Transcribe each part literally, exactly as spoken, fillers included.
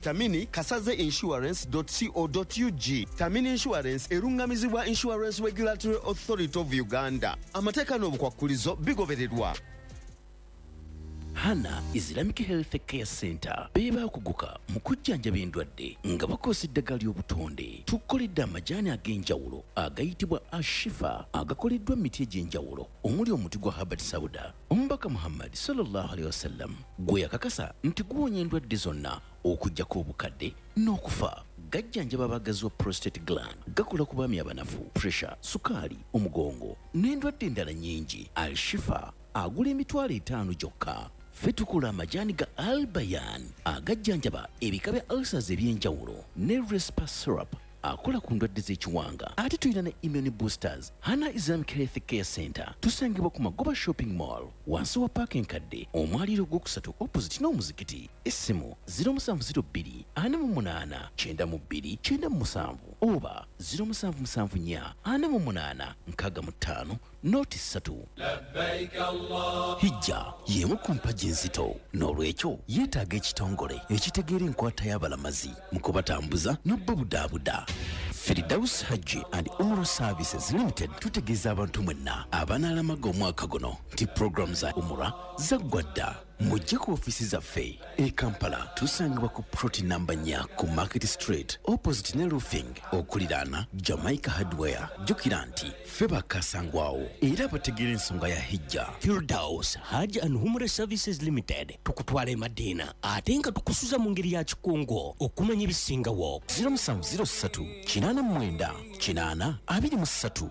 Tamini kasaze insurance dot co dot U G. Tamini Insurance erungamizibwa Insurance Regulatory Authority of Uganda. Amateeka n'obukwakkulizo bigobererwa. Hana Islamic Health Care Center be baakuguka mu kujjanjaba endwadde nga bakozesa eddagala ly'obutonde. Tukoledde amajaani ag'enjawulo agayitibwa Ashifa, agakoleddwa mu miti egy'enjawulo omuli omuti gwa Habbat Sauda, Omubaka Muhammad sallallahu alaihi wasallam gwe yakakasa nti guwonya endwadde zonna okuggyako obukadde n'okufa. Gajjanjaba abagazi wa prostate gland, gakola ku baami abanafu, pressure, sukaali, omugongo n'endwadde endala nnyingi. Al-Shifa agula emitwalo etaano gyokka. Ffe tukola amajaani ga Albayan agajjanjaba ebika bya ulcers eby'enjawulo ne Respa syrup akola ku ndwadde z'ekiwanga, ate tulina ne immune boosters. Hana Islamic Health Care Center tusangibwa ku Magoba Shopping Mall, wansi wa paaka enkadde, omwaliiro ogwokusatu, opposite n'omuzikiti. Essimu zero musanvu zero bbiri ana mu munaana kyenda mu bbiri kyenda mu musanvu oba zero musanvu musanvu nnya ana mu munaana nkaaga mu ttaano noti ssatu. Hijja y'emu ku mpagi enzito, n'olwekyo yeetaaga ekitongole ekitegeera enkwata y'abalamazi mu kubatambuza n'obbabudaabuda. Firdaus Hajji and Umrah Services Limited tutegeeza abantu mwenna abanaalamaga omwaka guno nti puroguramu za Umrah zaggwa dda. Mujje ku ofiisi zaffe e Kampala, tusangibwa ku plot namba nnya ku Market Street, opposite ne Roofing, okuliraana Jamaica Hardware. Jjukira nti ffe bakasangwawo era abategeera ensonga ya hijja. Firdaus Hajj and Umrah Services Limited tukutwala e Madina ate nga tukusuza mu ngeri ya kikungo. Okumanya ebisingawo, zero musanvu zero ssatu kinaana mu mwenda kinaana abiri mu ssatu.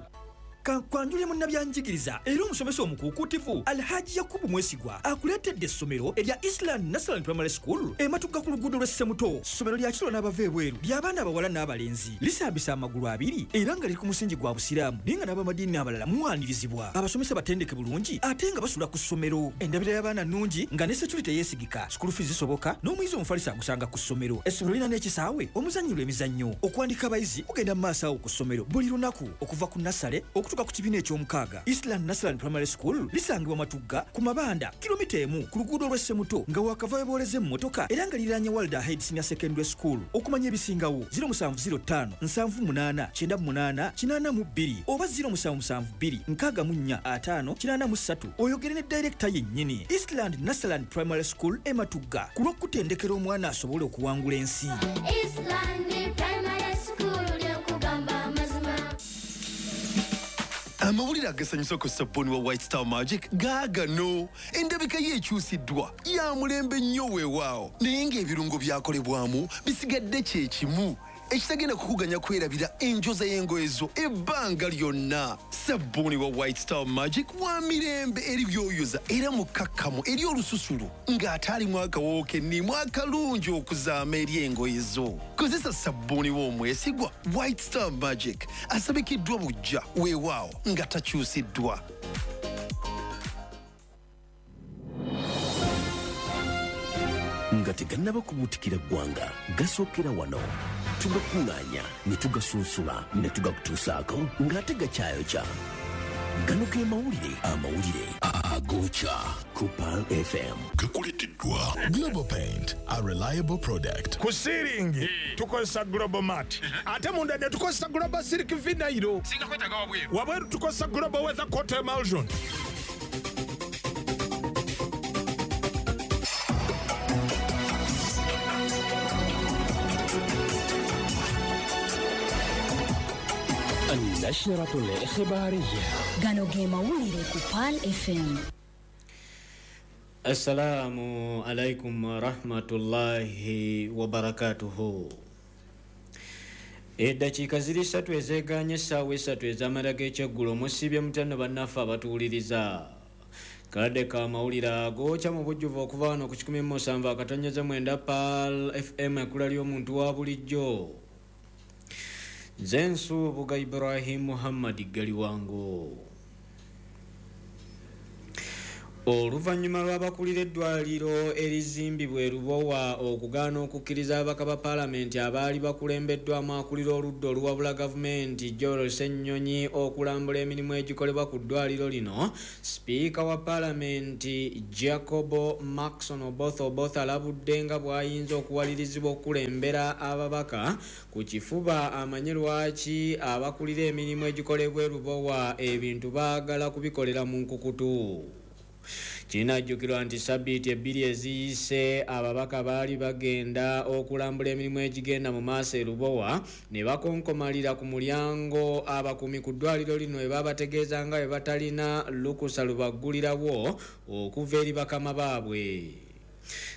Kankwanjule munnabyanjigiriza era omusomesa omukuukuutivu Alhaji Yakubu Mwesigwa akuleetedde essomero erya Island National Primary School ematuga ku luguudo lw'Essemuto. Ssomero lya kiro n'abava ebweru, ly'abaana abawala n'abalenzi, lisaabisa amagulu abiri era nga liri ku musingi gwa Busiraamu, naye nga n'abamadiini abalala muwanirizibwa. Abasomesa batendeke bulungi ate nga basula ku ssomero. Endabira y'abaana nnungi nga ne security yeesigika. School fees zisoboka n'omuyizi omufalisi agusanga ku ssomero. Essomero lirina n'ekisaawe omuzannyirwa emizannyo. Okuwandika abayizi kugenda mu maaso awo ku ssomero buli lunaku okuva ku nursery okutuuka ku kibiina eky'omukaaga. Island National Primary School lisangibwa Matugga ku Mabanda, kilomita emu ku luguudo lw'Essemuto nga wakava webooleza emmotoka, era nga liriraanye World Ahead Senior Secondary School. Okumanya ebisingawo, zero musanvu zero ttaano nsanvu munaana kyenda munaana kinaana mu bbiri oba zero musanvu musanvu bbiri nkaaga mu nnya ataano kinaana mu ssatu, oyogere ne director yennyini. Eastland National Primary School e Matugga, ku lw'okutendekera omwana asobole okuwangula ensi. Eastland Primary School, lyokugamba amazima. Amawulire agasanyusa ku sabbuuni wa White Star Magic gaagano. Endabika ye ekyusiddwa, ya mulembe nnyo weewaawo, naye ng'ebirungo byakolebwamu bisigadde kye kimu, ekitagenda kukuganya kwerabira enjoza y'engoye zo ebbanga lyonna. Sabbuuni wa White Star Magic wa mirembe eri byoyoza era mukkakkamu eri olususu ng'ate alimu akawoowo kennimu akalungi okuzaama eri engoye zo. Kozesa sabbuuni w'omwesigwa White Star Magic, asabikiddwa bujja weewaawo nga takyusiddwa. Nga tegannaba kubuutikira ggwanga, gasookera wano, tugakuŋŋaanya ne tugasunsula ne tugakutuusaako ng'ate gakyayokya. Gano ge mawulire, amawulire agookya ku Pearl F M. Gakuleteddwa Global Paint, a reliable product. Ku ceiling tukozesa Global Mat, ate munda ne tukozesa Global Silk Vinyl. Singa kwetaaga wabweru? Wabweru tukozesa Global Weather Coat Emulsion. النشرة الإخبارية. Gano ge mawulire ku Pearl F M. Assalamu alaikum warahmatullahi wabarakatuhu. Eddakiika ziri ssatu ezeegaanye essaawa esatu ez'amala g'ekyeggulo. Musiibye mutano bannaffe abatuwuliriza? Kadde ka mawulire agookya mu bujjuvu okuva wano ku kikumi mu musanvu akatonyeze mwenda Pearl F M, ekkula ly'omuntu wa bulijjo. Nze Nsubuga Ibrahim Muhammad Galiwango. Oluvannyuma lw'abakulira eddwaliro erizimbibwa e Lubowa okugaana okukkiriza ababaka ba paalamenti abaali bakulembeddwamu akulira oludda oluwabula gavumenti Joel Ssenyonyi okulambula emirimu egikolebwa ku ddwaliro lino, sipiika wa paalamenti Jacob Maxon Oboth Oboth alabudde nga bw'ayinza okuwalirizibwa okukulembera ababaka ku kifuba amanye lwaki abakulira emirimu egikolebwa e Lubowa ebintu baagala kubikolera mu nkukutu. Kinajjukirwa nti sabbiiti ebbiri eziyise ababaka baali bagenda okulambula emirimu egigenda mu maaso e Lubowa ne bakonkomalira ku mulyango abakuumi ku ddwaliro lino we babategeeza nga bwe batalina lukusa lubaggulirawo okuva eri bakama baabwe.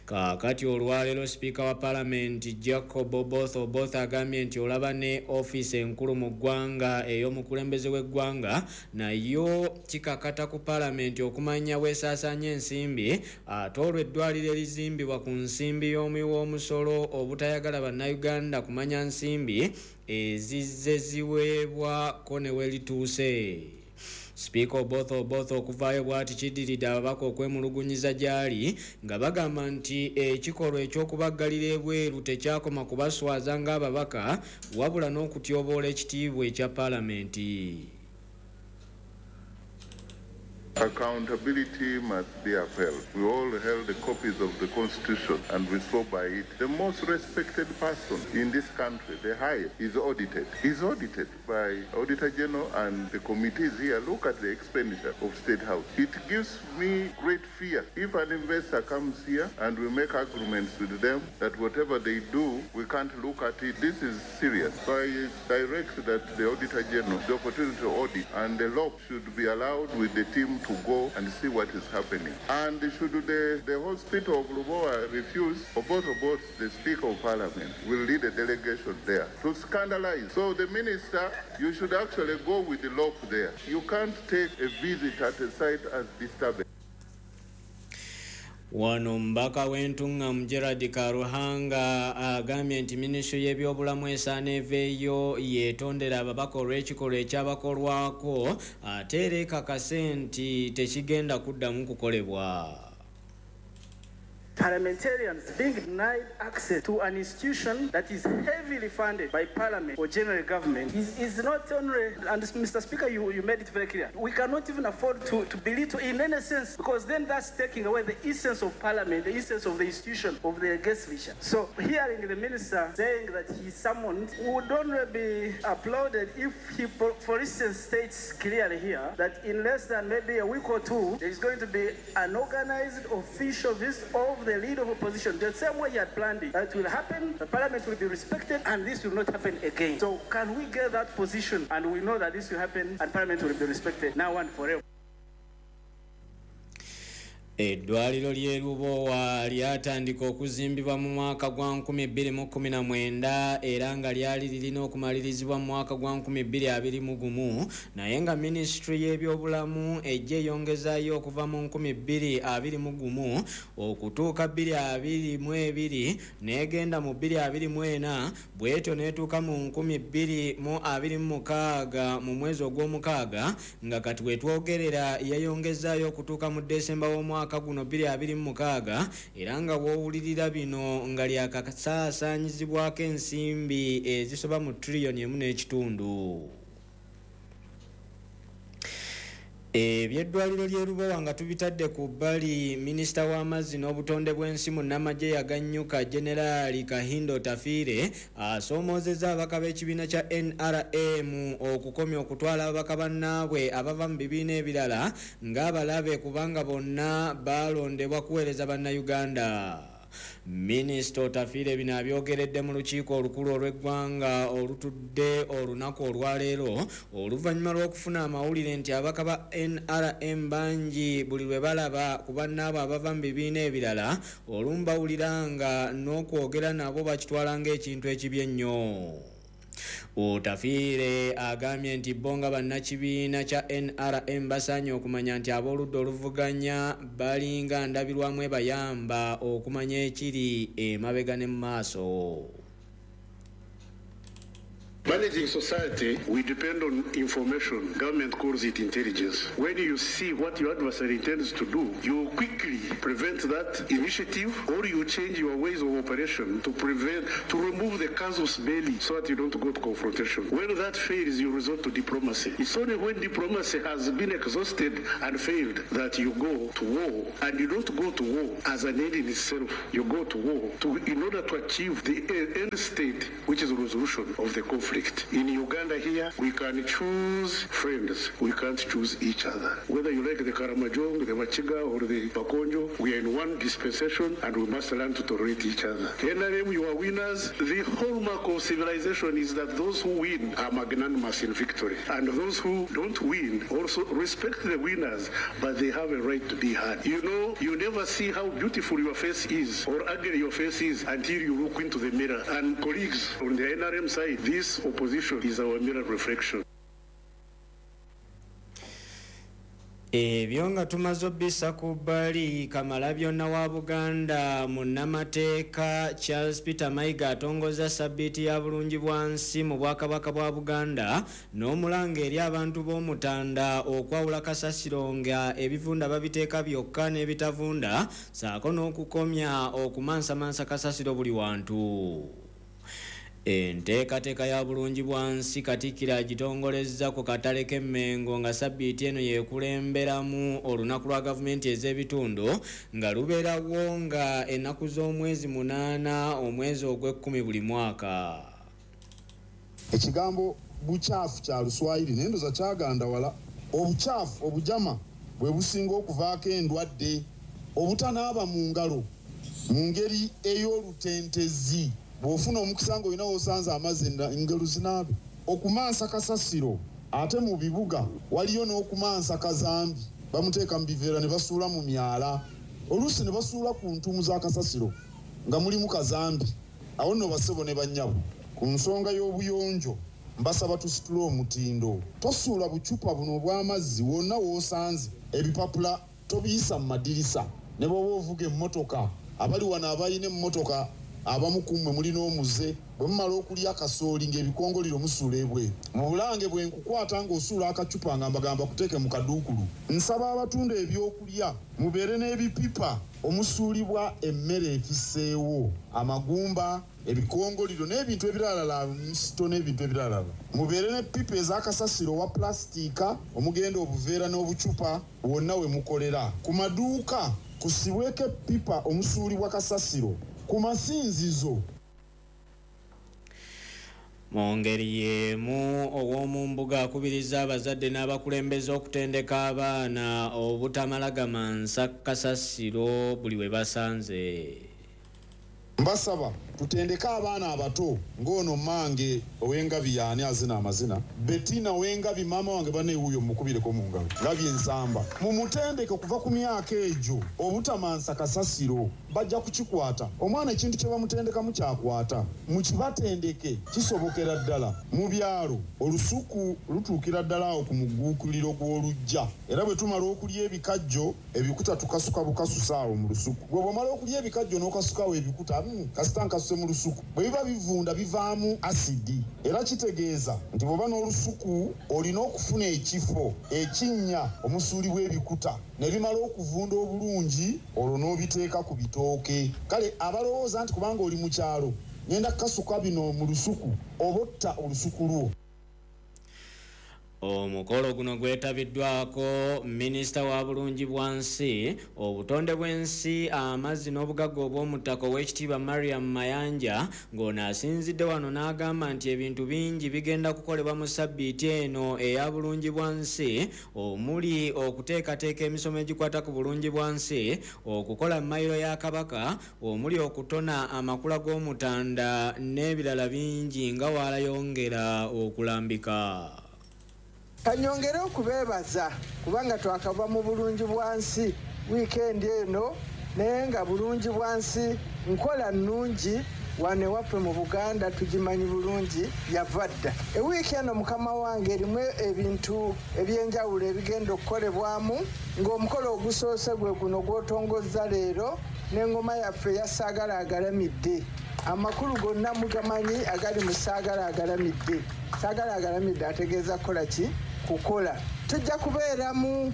Kaakati olwaleero sipiika wa paalamenti Jacob Oboth Oboth agambye nti olaba ne ofiisi enkulu mu ggwanga ey'omukulembeze w'eggwanga nayo kikakata ku paalamenti okumanya weesaasaanya ensimbi, ate olwo eddwaliro erizimbibwa ku nsimbi y'omuwi w'omusolo obutayagala bannayuganda kumanya nsimbi ezizze ziweebwako ne we lituuse. Sipiika Oboth Oboth okuvaayo bw'ati kiddiridde ababaka okwemulugunyiza gy'ali nga bagamba nti ekikolwa eky'okubaggalira ebweru tekyakoma kubaswaza ng'ababaka wabula n'okutyoboola ekitiibwa ekya paalamenti. Accountability must be upheld. We all held the copies of the Constitution and we swore by it. The most respected person in this country, the highest, is audited. He's audited by Auditor General and the committees here. Look at the expenditure of State House. It gives me great fear. If an investor comes here and we make agreements with them that whatever they do, we can't look at it. This is serious. So I direct that the Auditor General, the opportunity to audit, and the law should be allowed with the team to go and see what is happening. And should the, the hospital of Lubowa refuse, Oboth Oboth, the Speaker of Parliament, will lead a delegation there to scandalize. So the minister, you should actually go with the law there. You can't take a visit at a site as disturbing. Wano mbaka w'entungamu Gerald Karuhanga agambye nti minisitule y'ebyobulamu esaana eveeyo yeetondera ababaka olw'ekikolwa ekyabakolwako ate era ekakase nti tekigenda kuddamu kukolebwa. Parliamentarians being denied access to an institution that is heavily funded by Parliament or general government is, is not only, and Mister Speaker, you, you made it very clear, we cannot even afford to, to belittle in any sense, because then that's taking away the essence of Parliament, the essence of the institution, of the legislature. So hearing the minister saying that he summoned would only be applauded if he, for instance, states clearly here that in less than maybe a week or two, there is going to be an organized official visit of the leader of opposition, the same way he had planned it. That will happen, the parliament will be respected, and this will not happen again. So can we get that position and we know that this will happen and parliament will be respected now and forever? Eddwaliro ly'e Lubowa lyatandika okuzimbibwa mu mwaka gwa nkumi bbiri mu kkumi na mwenda era nga lyali lirina okumalirizibwa mu mwaka gwa nkumi bbiri abiri mu gumu, naye nga minisitule y'ebyobulamu ejja eyongezaayo okuva mu nkumi bbiri abiri mu gumu okutuuka bbiri abiri mu ebiri n'egenda mu bbiri abiri mu ena, bw'etyo n'etuuka mu nkumi bbiri mu abiri mu mukaaga mu mwezi ogw'omukaaga, nga kati we twogerera yayongezaayo okutuuka mu Desemba w'omwaka guno bbiri abiri mu mukaaga, era nga w'owulirira bino nga lyakasaasaanyizibwako ensimbi ezisoba mu triliyoni emu n'ekitundu. Ebyeddwaliro ly'e Lubowa nga tubitadde ku bbali, minisita w'amazzi n'obutonde bw'ensi munnamagye yaganyuka Generaali Kahindo Otafiire asoomoozezza ababaka b'ekibiina kya N R M okukomya okutwala ababaka bannaabwe abava mu bibiina ebirala ng'abalabe kubanga bonna baalondebwa kuweereza bannayuganda. Minisita Otafiire bino abyogeredde mu lukiiko olukulu olw'eggwanga olutudde olunaku olwaleero oluvannyuma lw'okufuna amawulire nti ababaka ba N R M bangi buli lwe balaba ku bannaabwe abava mu bibiina ebirala olumu bawulira nga n'okwogera nabo bakitwala ng'ekintu ekibi ennyo. Otafiire agambye nti bo nga bannakibiina kya N R M basaanye okumanya nti ab'oludda oluvuganya balinga ndabirwamu ebayamba okumanya ekiri emabega ne mu maaso. Managing society, we depend on information. Government calls it intelligence. When you see what your adversary intends to do, you quickly prevent that initiative, or you change your ways of operation to prevent, to remove the casus belli so that you don't go to confrontation. When that fails, you resort to diplomacy. It's only when diplomacy has been exhausted and failed that you go to war. And you don't go to war as an end in itself. You go to war to, in order to achieve the end state, which is resolution of the conflict. In Uganda here, we can choose friends. We can't choose each other. Whether you like the Karamajong, the Bachiga, or the Bakonjo, we are in one dispensation and we must learn to tolerate each other. N R M, you are winners. The hallmark of civilization is that those who win are magnanimous in victory. And those who don't win also respect the winners, but they have a right to be heard. You know, you never see how beautiful your face is or ugly your face is until you look into the mirror. And colleagues on the N R M side, this opposition is our mirror reflection. Ebyo nga tumaze obisa ku bbali, Kamalabyonna wa Buganda munnamateeka Charles Peter Mayiga atongoza sabbiiti ya bulungi bwa nsi mu Bwakabaka bwa Buganda n'omulanga eri abantu b'Omutanda okwawula kasasiro nga ebivunda babiteeka byokka n'ebitavunda, ssaako n'okukomya okumansamansa kasasiro buli wantu. Enteekateeka ya bulungi bwa nsi Katikkiro agitongolezza ku katale k'Emmengo nga sabbiiti eno yeekulemberamu olunaku lwa gavumenti ez'ebitundu nga lubeerawo nga ennaku z'omwezi munaana omwezi ogw'ekkumi buli mwaka. Ekigambo bukyafu kya Luswayiri naye ndowooza kyaganda wala. Obukyafu obujama bwe businga okuvaako endwadde, obutanaaba mu ngalo mu ngeri ey'olutentezi. Bw'ofuna omukisa ng'olina w'osanze amazzi engalo zinaabe. Okumansa kasasiro ate mu bibuga waliyo n'okumansa kazambi, bamuteeka mu biveera ne basuula mu myala, oluusi ne basuula ku ntuumu za kasasiro nga mulimu kazambi. Awo nno bassebo ne bannyabo, ku nsonga y'obuyonjo mbasaba tusitule omutindo. Tosuula bucupa buno obw'amazzi wonna w'osanze, ebipapula tobiyisa mu madirisa, ne bw'oba ovuga emmotoka. Abali wano abalina emmotoka abamu ku mmwe mulina omuze, bwe mumala okulya akasooli ng'ebikongoliro musuula ebweru. Mu bulange bwe nkukwata ng'osuula akacupa nga mbagamba kuteeke mu kaduukulu. Nsaba abatunda ebyokulya mubeere n'ebipipa omusuulibwa emmere efisseewo, amagumba, ebikongoliro n'ebintu ebiralala, misito n'ebintu ebiralala. Mubeere n'eppipa ez'akasasiro owa pulasitiika omugenda obuveera n'obucupa wonna we mukolera. Ku maduuka kusibweko eppipa omusuulibwa kasasiro. Ku masinzizo. Mu ngeri y'emu ow'omumbuga akubiriza abazadde n'abakulembeze okutendeka abaana obutamala gamansa kasasiro buli we basanze. Mbasaba tutendeke abaana abato ng'ono mmange ow'engabi yaani azina amazina, Bettina ow'engabi maama wange banne wuuyo mukubireko mu ngalo, ngabi ensamba. Mumutendeke okuva ku myaka egyo obutamansa kasasiro, bajja kukikwata. Omwana ekintu kye bamutendekamu kyakwata, mukibatendeke kisobokera ddala. Mu byalo olusuku lutuukira ddala awo ku mugguukiriro gw'oluggya, era bwe tumala okulya ebikajjo ebikuta tukasuka bukasusa awo mu lusuku. Bwe bw'omala okulya ebikajjo n'okasukawo ebikuta, kasita nkasuse mu lusuku, bwe biba bivunda bivaamu asidi. Era kitegeeza nti bw'oba n'olusuku olina okufuna ekifo ekinnya omusuulibwa ebikuta ne bimala okuvunda obulungi, olwo n'obiteeka ku bitooke. Kale abalowooza nti kubanga oli mu kyalo ngenda kukasuka bino mu lusuku, oba otta olusuku lwo. Omukolo guno gwetabiddwako minisita wa bulungi bwa nsi, obutonde bw'ensi, amazzi n'obugagga obw'omuttaka ow'ekitiibwa Mariam Mayanja, ng'ono asinzidde wano n'agamba nti ebintu bingi bigenda kukolebwa mu sabbiiti eno eya bulungi bwa nsi, omuli okuteekateeka emisomo egikwata ku bulungi bwa nsi, okukola mayiro ya Kabaka, omuli okutona amakula g'Omutanda n'ebirala bingi nga waalayongera okulambika. Kanyongere okubeebaza kubanga twakava mu bulungi bwa nsi wiikendi eno, naye nga bulungi bwa nsi nkola nnungi wano ewaffe mu Buganda tugimanyi bulungi, yava dda. Ewiiki eno mukama wange erimu ebintu ebyenjawulo ebigenda okukolebwamu, ng'omukolo ogusoose gwe guno gw'otongozza leero n'engoma yaffe ya Saagala Agalamidde. Amakulu gonna mugamanyi agali mu Saagala Agalamidde. Saagala Agalamidde ategeeza kukola ki? Kukola. Tujja kubeeramu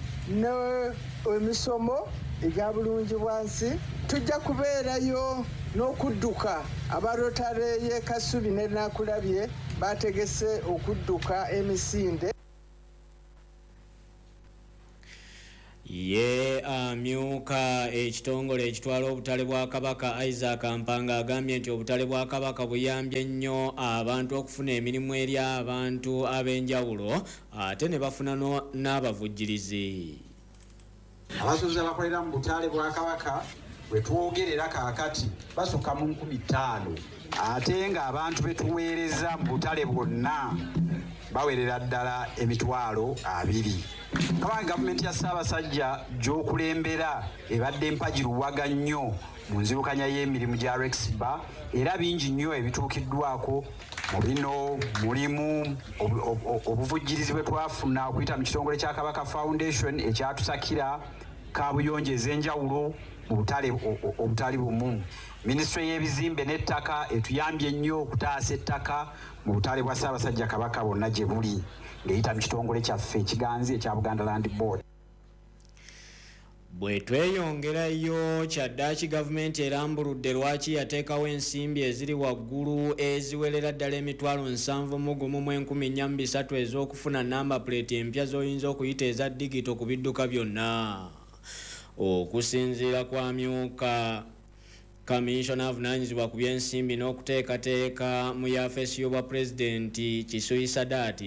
emisomo egya bulungi bwansi, tujja kubeerayo n'okudduka. Aba Rotary y'e Kasubi ne Nakulabye bategese okudduka emisinde. Ye amyuka ekitongole ekitwala obutale bwa Kabaka Isaac Mpanga agambye nti obutale bwa Kabaka buyambye nnyo abantu okufuna emirimu eri abantu ab'enjawulo ate ne bafuna n'abavujjirizi. Abasuubuzi abakolera mu butale bwa Kabaka bwe twogerera kaakati basukka mu nkumi ttaano, ate ng'abantu be tuweereza mu butale bwonna bawerera ddala emitwalo abiri. Kabanga gavumenti ya Ssaabasajja gy'okulembera ebadde mpagi luwaga nnyo mu nzirukanya y'emirimu gya Rexba, era bingi nnyo ebituukiddwako. Mu bino mulimu obuvujjirizi bwe twafuna okuyita mu kitongole kya Kabaka Foundation ekyatusakira kaabuyonjo ez'enjawulo mu butale obutali bumu. Minisitule y'ebizimbe n'ettaka etuyambye nnyo okutaasa ettaka mu butale bwa Ssaabasajja Kabaka bwonna gye buli ng'eyita mu kitongole kyaffe ekiganzi ekya Buganda Land Board. Bwe tweyongerayo kyaddaaki gavumenti erambuludde lwaki yateekawo ensimbi eziri waggulu eziwerera ddala emitwalo nsanvu mu gumu mu enkumi nnya mu bisatu ez'okufuna namba plate empya z'oyinza okuyita eza digito ku bidduka byonna. Okusinziira kwa myuka Kamisona avunaanyizibwa ku by'ensimbi n'okuteekateeka mu yafeesi y'obwa pulezidenti Kisuyi Sadat,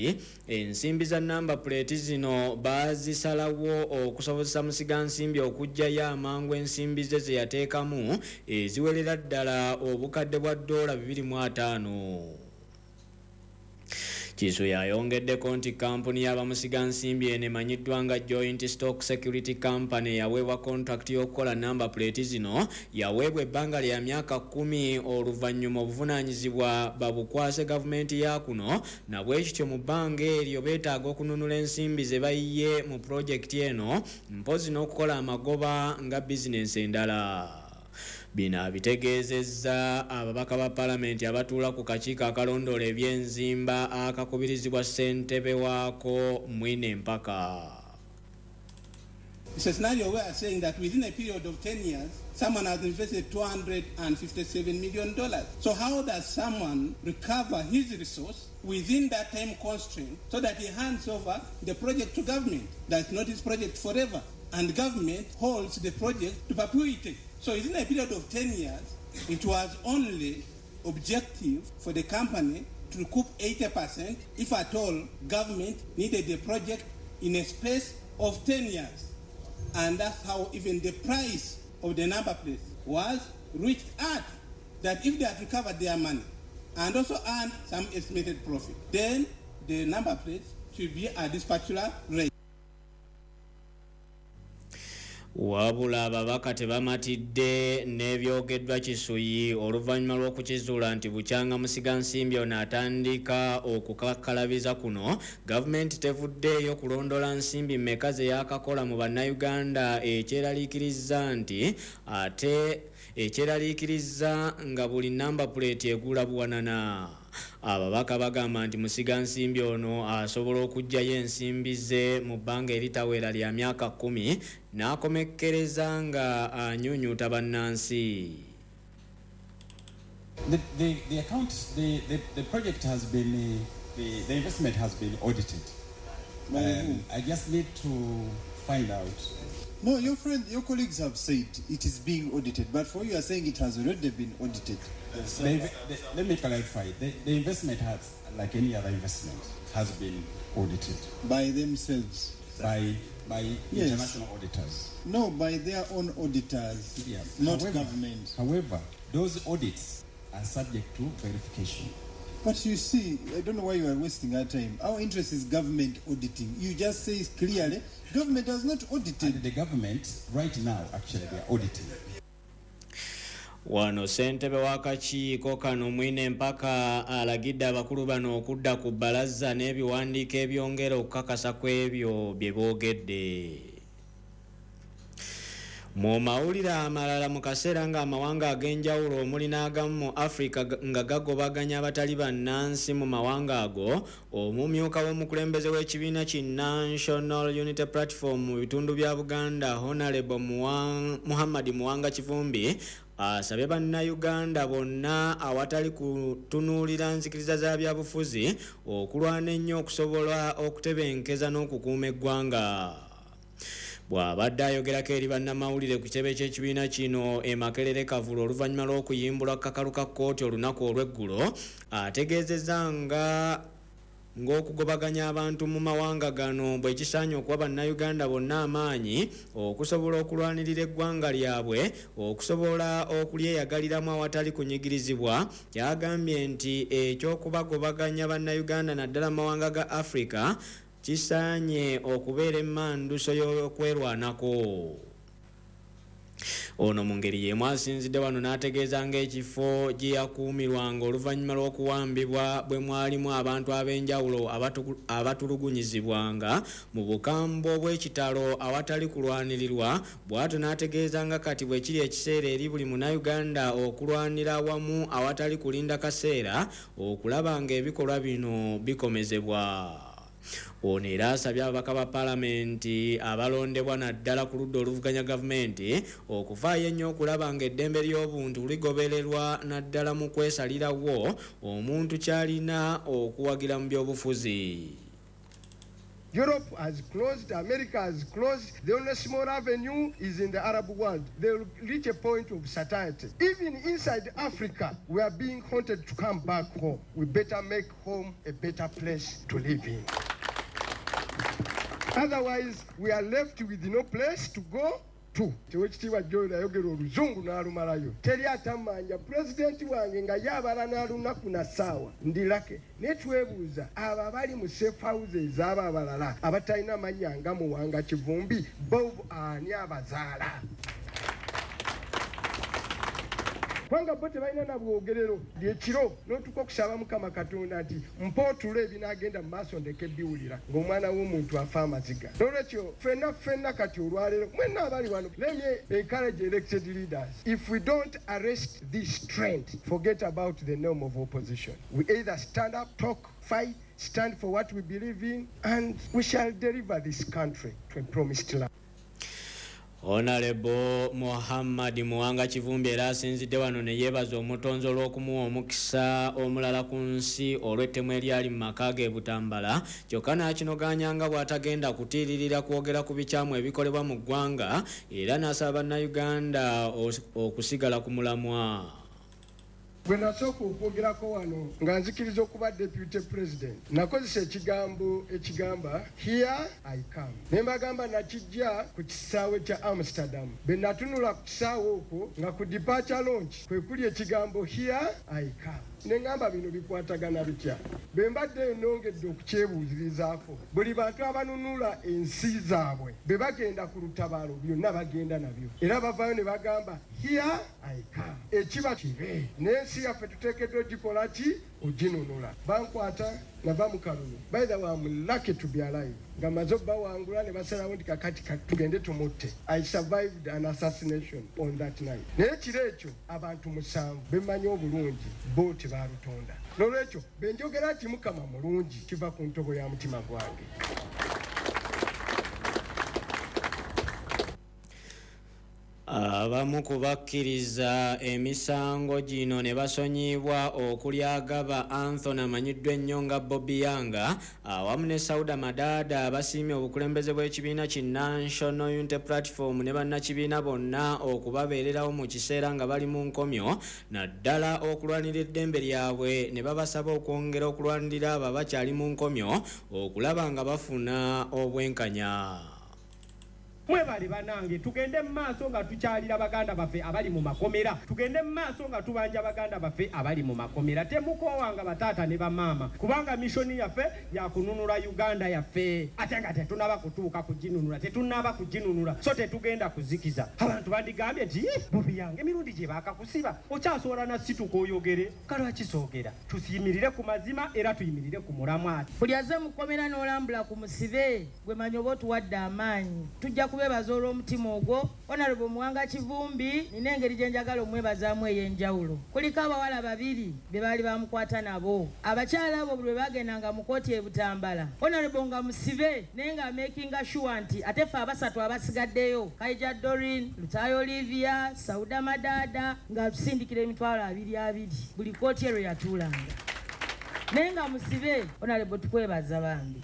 ensimbi za namba plate zino baazisalawo okusobozesa musigansimbi okuggyayo amangu ensimbi ze ze yateekamu eziwerera ddala obukadde bwa ddoola bibiri mu ataano. Kisuyi ayongeddeko nti kampuni y'abamusigansimbi eno emanyiddwa nga Joint Stock Security Company yaweebwa contract y'okukola namba plate zino yaweebwa ebbanga lya myaka kkumi oluvannyuma obuvunaanyizibwa babukwase gavumenti ya kuno, na bwe kityo mu bbanga eryo beetaaga okununula ensimbi ze bayiye mu pulojekiti eno mpozzi n'okukola amagoba nga bizinensi endala. Bino abitegeezezza ababaka ba palamenti abatuula ku kakiiko akalondoola eby'enzimba akakubirizibwa ssentebe waako Mwine Mpaka. It's a scenario where we are saying that within a period of ten years, someone has invested two hundred fifty-seven million dollars. So how does someone recover his resource within that time constraint so that he hands over the project to government? That's not his project forever. And government holds the project to perpetuity. So within a period of ten years, it was only objective for the company to recoup eighty percent if at all government needed the project in a space of ten years. And that's how even the price of the number plate was reached at, that if they had recovered their money and also earned some estimated profit, then the number plates should be at this particular rate. Wabula ababaka tebamatidde n'ebyogeddwa Kisuyi oluvannyuma lw'okukizuula nti bukyanga musigansimbi ono atandika okukakkalabiza kuno, gavumenti tevuddeeyo kulondola nsimbi mmeka ze yaakakola mu bannayuganda ekyeraliikiriza nti ate ekyeraliikiriza nga buli namba plate egula buwanana. Ababaka bagamba nti musigansimbi ono asobola okuggyayo ensimbi ze mu bbanga eritawera lya myaka kkumi n'akomekkereza nga anyunyuta bannansi. The, the, the account, the, the, the project has been, the, the investment has been audited. Um, I just need to find out. No, your friend, your colleagues have said it is being audited, but for you are saying it has already been audited. The, the, let me clarify. The, the investment has, like any other investment, has been audited. By themselves? By, by yes. International auditors. No, by their own auditors, yeah. Not however, government. However, those audits are subject to verification. But you see, I don't know why you are wasting our time. Our interest is government auditing. You just say clearly, government has not audited. And the government, right now, actually, they are auditing. Wano ssentebe w'akakiiko kano Mwine Mpaka alagidde abakulu bano okudda ku bbalaza n'ebiwandiiko ebyongera okukakasa ku ebyo bye boogedde. Mu mawulire amalala, mu kaseera ng'amawanga ag'enjawulo omuli n'agamu mu Africa nga gagobaganya abatali bannansi mu mawanga ago, omumyuka w'omukulembeze w'ekibiina ki National Unity Platform mu bitundu bya Buganda, Honorable Muhammad Muwanga Kivumbi, asabye bannayuganda bonna awatali kutunuulira nzikiriza za byabufuzi okulwana ennyo okusobola okutebenkeza n'okukuuma eggwanga. Bw'abadde ayogerako eri bannamawulire ku kitebe ky'ekibiina kino e Makerere Kavulu oluvannyuma lw'okuyimbulwa kakalu ka kkooti olunaku olw'eggulo, ategeezezza nga ng'okugobaganya abantu mu mawanga gano bwe kisaanye okuwa bannayuganda bonna amaanyi okusobola okulwanirira eggwanga lyabwe, okusobola okulyeyagaliramu awatali kunyigirizibwa. Yagambye nti eky'okubagobaganya bannayuganda naddala mu mawanga ga Africa kisaanye okubeera emmanduso y'okwerwanako. Ono mu ngeri y'emu asinzidde wano n'ategeeza ng'ekifo gye yakuumirwanga oluvannyuma lw'okuwambibwa bwe mwalimu abantu ab'enjawulo abatulugunyizibwanga mu bukambwe obw'ekitalo awatali kulwanirirwa, bw'atyo n'ategeeza nga kati bwe kiri ekiseera eri buli munnayuganda okulwanira awamu awatali kulinda kaseera okulaba ng'ebikolwa bino bikomezebwa. Ono era asabye ababaka ba paalamenti abalondebwa naddala ku ludda oluvuganya gavumenti okuvaayo ennyo okulaba ng'eddembe ly'obuntu ligobererwa naddala mu kwesalirawo omuntu ky'alina okuwagira mu byobufuzi. Europe has closed, America has closed. The only small avenue is in the Arab world. They will reach a point of satiety. Even inside Africa, we are being haunted to come back home. We better make home a better place to live in. Otherwise, we are left with no place to go to. Owekitiibwa Joel ayogera oluzungu n'alumalayo. Teri atamanja pulezidenti wange nga yabala n'alunaku na ssaawa ndi lake. Naye twebuuza abo abali mu safe houses abo abalala abatalina mannya nga Muwanga Kivumbi bo ani abazaala? Kubanga bo tebalina na bwogerero. Ekiro n'otuuka okusaba Mukama Katonda nti mpa otulo ebinaagenda mu maaso ndeke biwulira ng'omwana w'omuntu afa amaziga. N'olwekyo ffenna ffenna kati olwaleero mwenna abali wano, let me encourage elected leaders. If we don't arrest this trend, forget about the norm of opposition. We either stand up, talk, fight, stand for what we believe in, and we shall deliver this country to a promised land. Honorable Muhammad Muwanga Kivumbi era asinzidde wano ne yeebaza omutonzi olw'okumuwa omukisa omulala ku nsi olw'ettemu eryali mu maka ge Butambala, kyokka n'akinogaanya nga bw'atagenda kutiiririra kwogera ku bikyamu ebikolebwa mu ggwanga era n'asaba bannayuganda okusigala ku mulamwa. Bwe nasooka okwogerako wano nga nzikiriza okuba deputy president, nakozesa ekigambo ekigamba here I come. Ne mbagamba nakijja ku kisaawe kya Amsterdam. Bwe natunula ku kisaawe okwo nga ku departure launch kwe kuli ekigambo here I come. Ne ŋŋamba bino bikwatagana bitya? Bwe mbadde nongedde okukyebuuzirizaako, buli bantu abanunula ensi zaabwe bwe bagenda ku lutabaalo byonna bagenda nabyo, era bavaayo ne bagamba here I come. Ekiba kibe n'ensi yaffe tuteekeddwa ogikola ki? Oginunula. Bankwata nava mu kalulu. By the way, I'm lucky to be alive. Nga maze obbawangula ne basalawo nti kakati tugende tumutte. I survived an assassination on that night. Naye kiro ekyo abantu musanvu bemmanyi obulungi bo tebaalutonda. N'olwekyo bwe njogera nti Mukama mulungi kiva ku ntobo ya mutima gwange. Abamu ku bakkiriza emisango gino ne basonyiyibwa okuli Agaba Anthony amanyiddwa ennyo nga Bobi Yanga awamu ne Sauda Madada basiimye obukulembeze bw'ekibiina ki National Unity Platform ne bannakibiina bonna okubabeererawo mu kiseera nga bali mu nkomyo naddala okulwanirira eddembe lyabwe ne babasaba okwongera okulwanirira abo abakyali mu nkomyo okulaba nga bafuna obwenkanya. Mwebale banange, tugende mu maaso nga tukyalira baganda baffe abali mu makomera, tugende mu maaso nga tubanja baganda baffe abali mu makomera. Temukoowanga bataata ne bamaama, kubanga mishoni yaffe yakununula Uganda yaffe, ate nga tetunaba kutuuka kuginunula, tetunaba kuginunula, so tetugenda kuzikiza. Abantu bandigambye nti Bobi yange emirundi gye baakakusiba okyasobola na situka oyogere, kalwaki soogera? Tuyimirire ku mazima era tuyimirire ku mulamwa. Buli azze mu kkomera n'olambula ku musibe gwe manyi oba otuwadde amaanyi, tujja kubebaza olw'omutima ogwo. Honorable Muwanga Kivumbi nina engeri gye njagala omwebazaamu ey'enjawulo. Kuliko abawala babiri be baali bamukwata nabo. Abakyala abo bwe bagendanga mu kkooti e Butambala, Honorable nga musibe naye nga makinga sure nti ate ffe abasatu abasigaddeyo, Kaija Doreen, Lutayo Olivia, Sauda Madada, nga tusindikira emitwalo abiri abiri buli kkooti ero yatuulanga. Naye nga musibe, Honorable tukwebaza bambi.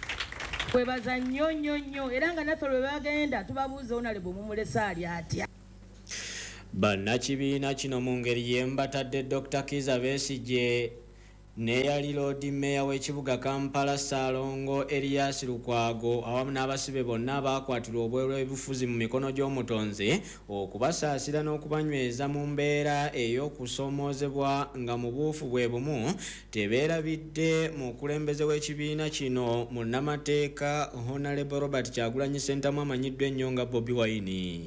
Kwebaza nnyo nnyo nnyo, era nga naffe lwe bagenda tubabuuza Honorable mumulese ali atya. Bannakibiina kino mu ngeri y'emu batadde Doctor Kizza Besigye n'eyali Lord Mayor w'ekibuga Kampala Ssaalongo Erias Lukwago awamu n'abasibe bonna abakwatirwa obweru ebifuzi mu mikono gy'omutonzi okubasaasira n'okubanyweza mu mbeera ey'okusoomoozebwa nga mu buufu bwe bumu tebeerabidde mukulembeze w'ekibiina kino munnamateeka Honorable Robert Kyagulanyi Ssentamu amanyiddwa ennyo nga Bobi Wine.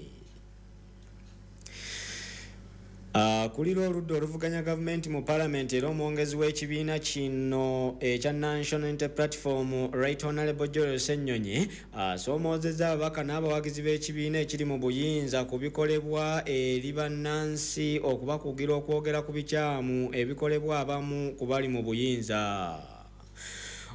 Akulira oludda oluvuganya gavumenti mu palamenti era omwongezi w'ekibiina kino ekya National Unity Platform Right Honorable Joel Ssenyonyi asoomoozezza ababaka n'abawagizi b'ekibiina ekiri mu buyinza ku bikolebwa eri bannansi okubakugira okwogera ku bikyamu ebikolebwa abamu ku bali mu buyinza.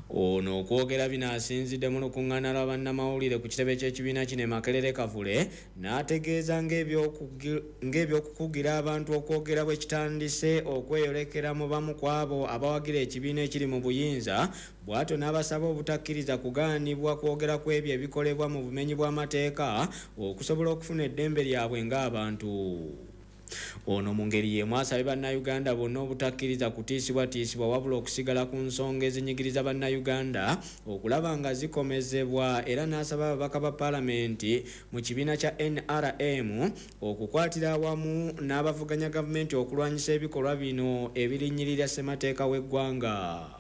Ono okwogera bino asinzidde mu lukuŋŋaana lwa bannamawulire ku kitebe ky'ekibiina kino e Makerere Kavule n'ategeeza ng'ebyokukugira abantu okwogera bwe kitandise okweyolekera mu bamu ku abo abawagira ekibiina ekiri mu buyinza, bw'atyo n'abasaba obutakkiriza kugaanibwa kwogera ku ebyo ebikolebwa mu bumenyi bw'amateeka okusobola okufuna eddembe lyabwe ng'abantu. Ono mu ngeri y'emu asabye bannayuganda bonna obutakkiriza kutiisibwatiisibwa wabula okusigala ku nsonga ezinyigiriza bannayuganda okulaba nga zikomezebwa, era n'asaba ababaka ba paalamenti mu kibiina kya N R M okukwatira awamu n'abavuganya gavumenti okulwanyisa ebikolwa bino ebirinnyirira ssemateeka w'eggwanga.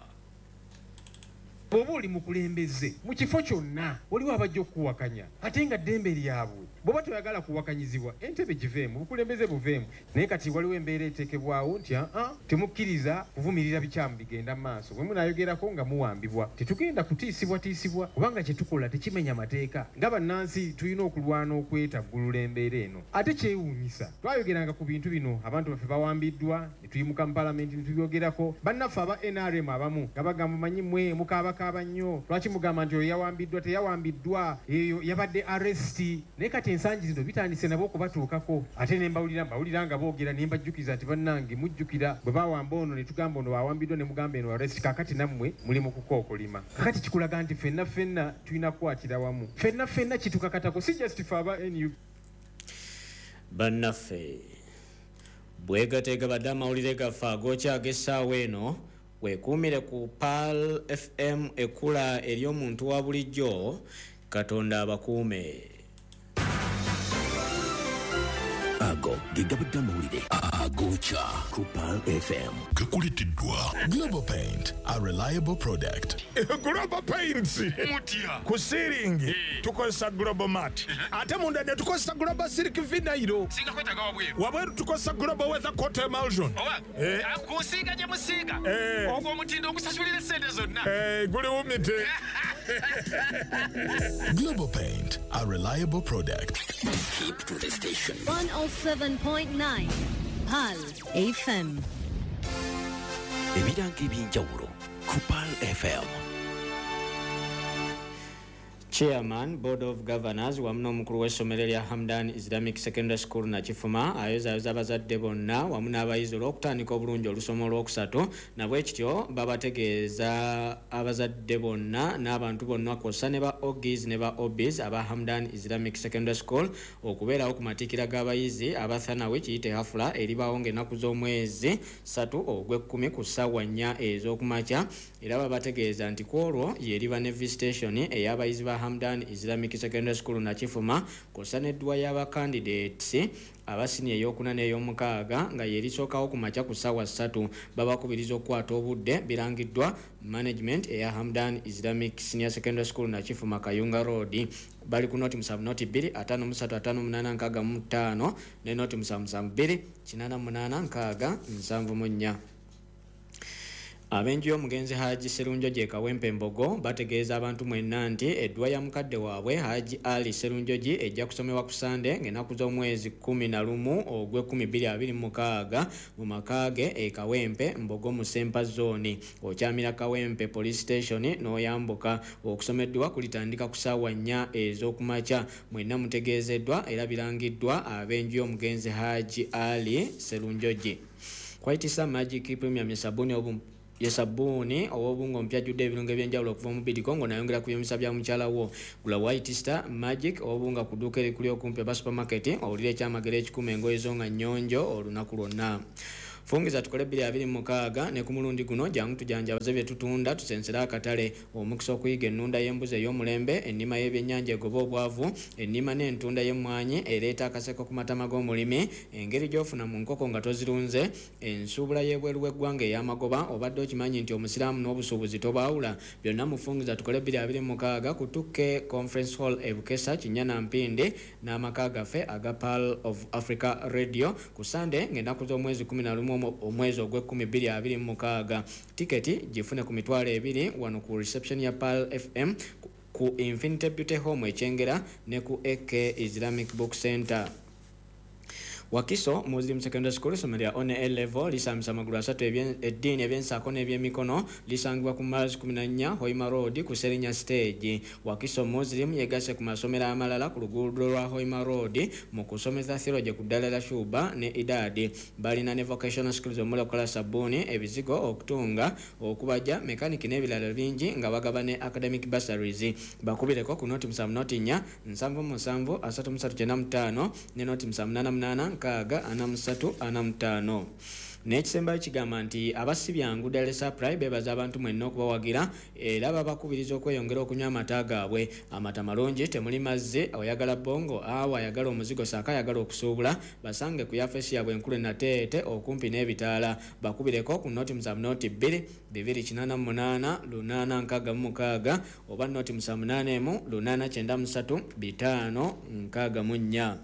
Bw'oba oli mukulembeze mu kifo kyonna waliwo abajja okukuwakanya ate nga ddembe lyabwe. Bw'oba toyagala kuwakanyizibwa entebe giveemu, obukulembeze buveemu. Naye kati waliwo embeera eteekebwawo nti aa temukkiriza kuvumirira bikyamu bigenda mu maaso. Bwe munaayogerako nga muwambibwa, tetugenda kutiisibwatiisibwa kubanga kye tukola tekimenya mateeka. Nga bannansi tulina okulwana okwetaggulula embeera eno. Ate kyewuunyisa, twayogeranga ku bintu bino, abantu baffe bawambiddwa ne tuyimuka mu paalamenti ne tubyogerako. Bannaffe aba N R M abamu nga bagamba manyi mmwe mukaabakaaba nnyo, lwaki mugamba nti oyo yawambiddwa teyawambiddwa, eyo yabadde arrest. Naye kati ensangi zino bitandise nabo okubatuukako. Ate ne mbawulira mbawulira nga boogera ne mbajjukiza nti bannange mujjukira bwe bawamba ono ne tugamba ono awambiddwa ne mugamba eno arrest, kaakati nammwe muli mu kukookolima. Kaakati kikulaga nti ffenna ffenna tulina kukwatira wamu, ffenna ffenna kitukakatako, si just ffe aba N U P. Bannaffe bwegateega badde amawulire gaffe agookya ag'essaawa eno. Weekuumire ku Pearl F M ekkula ery'omuntu wa bulijjo. Katonda abakuume. Ago ge gabadde amawulire agokya ku Pearl F M. Gakuleeteddwa Global Paint, a reliable product. Global Paints mutya ku ceiling tukozesa Global Mat, ate munda ne tukozesa Global Silk Vinyl. Singa kwetaaga wabweru, wabweru tukozesa Global Weather Coat Emulsion. Owa kusiiga gye musiiga ogwo omutindo ogusasulira essente zonna guli wumite. Global Paint, a reliable product. Keep to the station. one oh seven point nine Pearl F M. Ebirango eby'enjawulo ku Pearl F M. Chairman Board of Governors wamu n'omukulu w'essomero lya Hamdan Islamic Secondary School Nakifuma ayozaayoza abazadde bonna wamu n'abayizi olw'okutandika obulungi olusoma olwokusatu, nabwe kityo babategeeza abazadde bonna n'abantu bonna kw'ossa ne ba Ogis ne ba Obis aba Hamdan Islamic Secondary School okubeerawo ku matikkira g'abayizi abathanawi kiyite hafula eribaawo ng'ennaku z'omwezi ssatu ogw'ekkumi ku ssaawa nnya ez'okumakya. Era babategeeza nti ku olwo y'eriba ne visitation ey'abayizi ba Hamdan Islamic Secondary School Nakifuma kw'ossa n'edduwa y'abacandidates abasini ey'okuna n'ey'omukaaga nga yerisookawo ku makya ku ssaawa ssatu. Babakubiriza okukwata obudde. Birangiddwa management eya Hamdan Islamic Senior Secondary School Nakifuma Kayunga Road. Bali ku noti musanvu noti bbiri ataano mu ssatu ataano munaana nkaaga mu ttaano ne noti musanvu musanvu bbiri kinaana munaana nkaaga nsanvu mu nnya. Ab'enju y'omugenzi Haji Serunjogi e Kawempe Mbogo bategeeza abantu mwenna nti edduwa ya mukadde waabwe Haji Ali Serunjogi ejja kusomebwa ku Sande ng'ennaku z'omwezi kkumi na lumu ogw'ekkumi bbiri abiri mu mukaaga mu maka ge e Kawempe Mbogo mu Sempa Zone. Okyamira Kawempe Police Station n'oyambuka. Okusoma edduwa kulitandika ku ssaawa nnya ez'okumakya. Mwenna mutegeezeddwa era birangiddwa ab'enju y'omugenzi Haji Ali Serunjogi. Kwaitisa Magic Premium sabuni obu ye sabbuuni ow'obungo mpya ajjudde ebirungo ebyenjawulo okuva mu Bidiko ng'onayongera ku byomisa bya mukyala wo. Gula White Star Magic ow'obunga ku dduuka erikuli okumpi aba supermarket owulire ekyamagero ekikuma engoye zo nga nnyonjo olunaku lwonna. Fungiza tukole bbiri abiri mu mukaaga ne ku mulundi guno jangu tujanjabaze bye tutunda tusensere akatale. Omukisa okuyiga ennunda y'embuzi ey'omulembe, ennima y'ebyennyanja egoba obwavu, ennima n'entunda y'emmwanyi ereeta akaseko ku matama g'omulimi, engeri gy'ofuna mu nkoko nga tozirunze, ensuubula y'ebweru w'eggwanga ey'amagoba. Obadde okimanyi nti omusiraamu n'obusuubuzi tobaawula? Byonna mufungiza tukole bbiri abiri mu mukaaga ku Tuke Conference Hall e Bukesa, Kinnyana Mpindi n'amaka gaffe aga Pearl of Africa Radio ku Sande ng'ennaku z'omwezi kkumi na lumu omwezi ogw'ekkumi bbiri abiri mu mukaaga. Tiketi gifune ku mitwalo ebiri wano ku reception ya Pearl F M, ku Infinity Beauty Home e Kyengera ne ku A K Islamic Book Center. Wakiso Muslim Secondary School essomero lya one A level lisambisa amagulu asatu eddiini, ebyensaako n'ebyemikono. Lisangibwa ku Mars kumi na nnya Hoima Road ku Serinya Stage. Wakiso Muslim yegasse ku masomero amalala ku luguudo lwa Hoima Road mu kusomesa theology ku ddala lya Shuba ne Idadi. Balina ne vocational skills omuli okukola sabbuuni, ebizigo, okutunga, okubajja, mekaniki n'ebirala bingi nga bagaba ne academic bursaries. Bakubireko ku noti musanvu noti nnya nsanvu musanvu asatu musatu kyenda mu ttaano ne noti musanvu munaana munaana nkaaga ana musatu ana mutaano. N'ekisembayo kigamba nti abasibyangu Daily Supply beebaza abantu mwenna okubawagira era babakubiriza okweyongera okunywa amata gaabwe. Amata malungi, temuli mazzi. Oyagala bongo awo ayagala omuzigo saako ayagala okusuubula, basange ku yafesi yaabwe enkulu e Nateete okumpi n'ebitaala. Bakubireko ku noti musanvu noti bbiri bibiri kinaana mu munaana lunaana nkaaga mu mukaaga oba noti musanvu munaana emu lunaana kyenda musatu bitaano nkaaga mu nnya.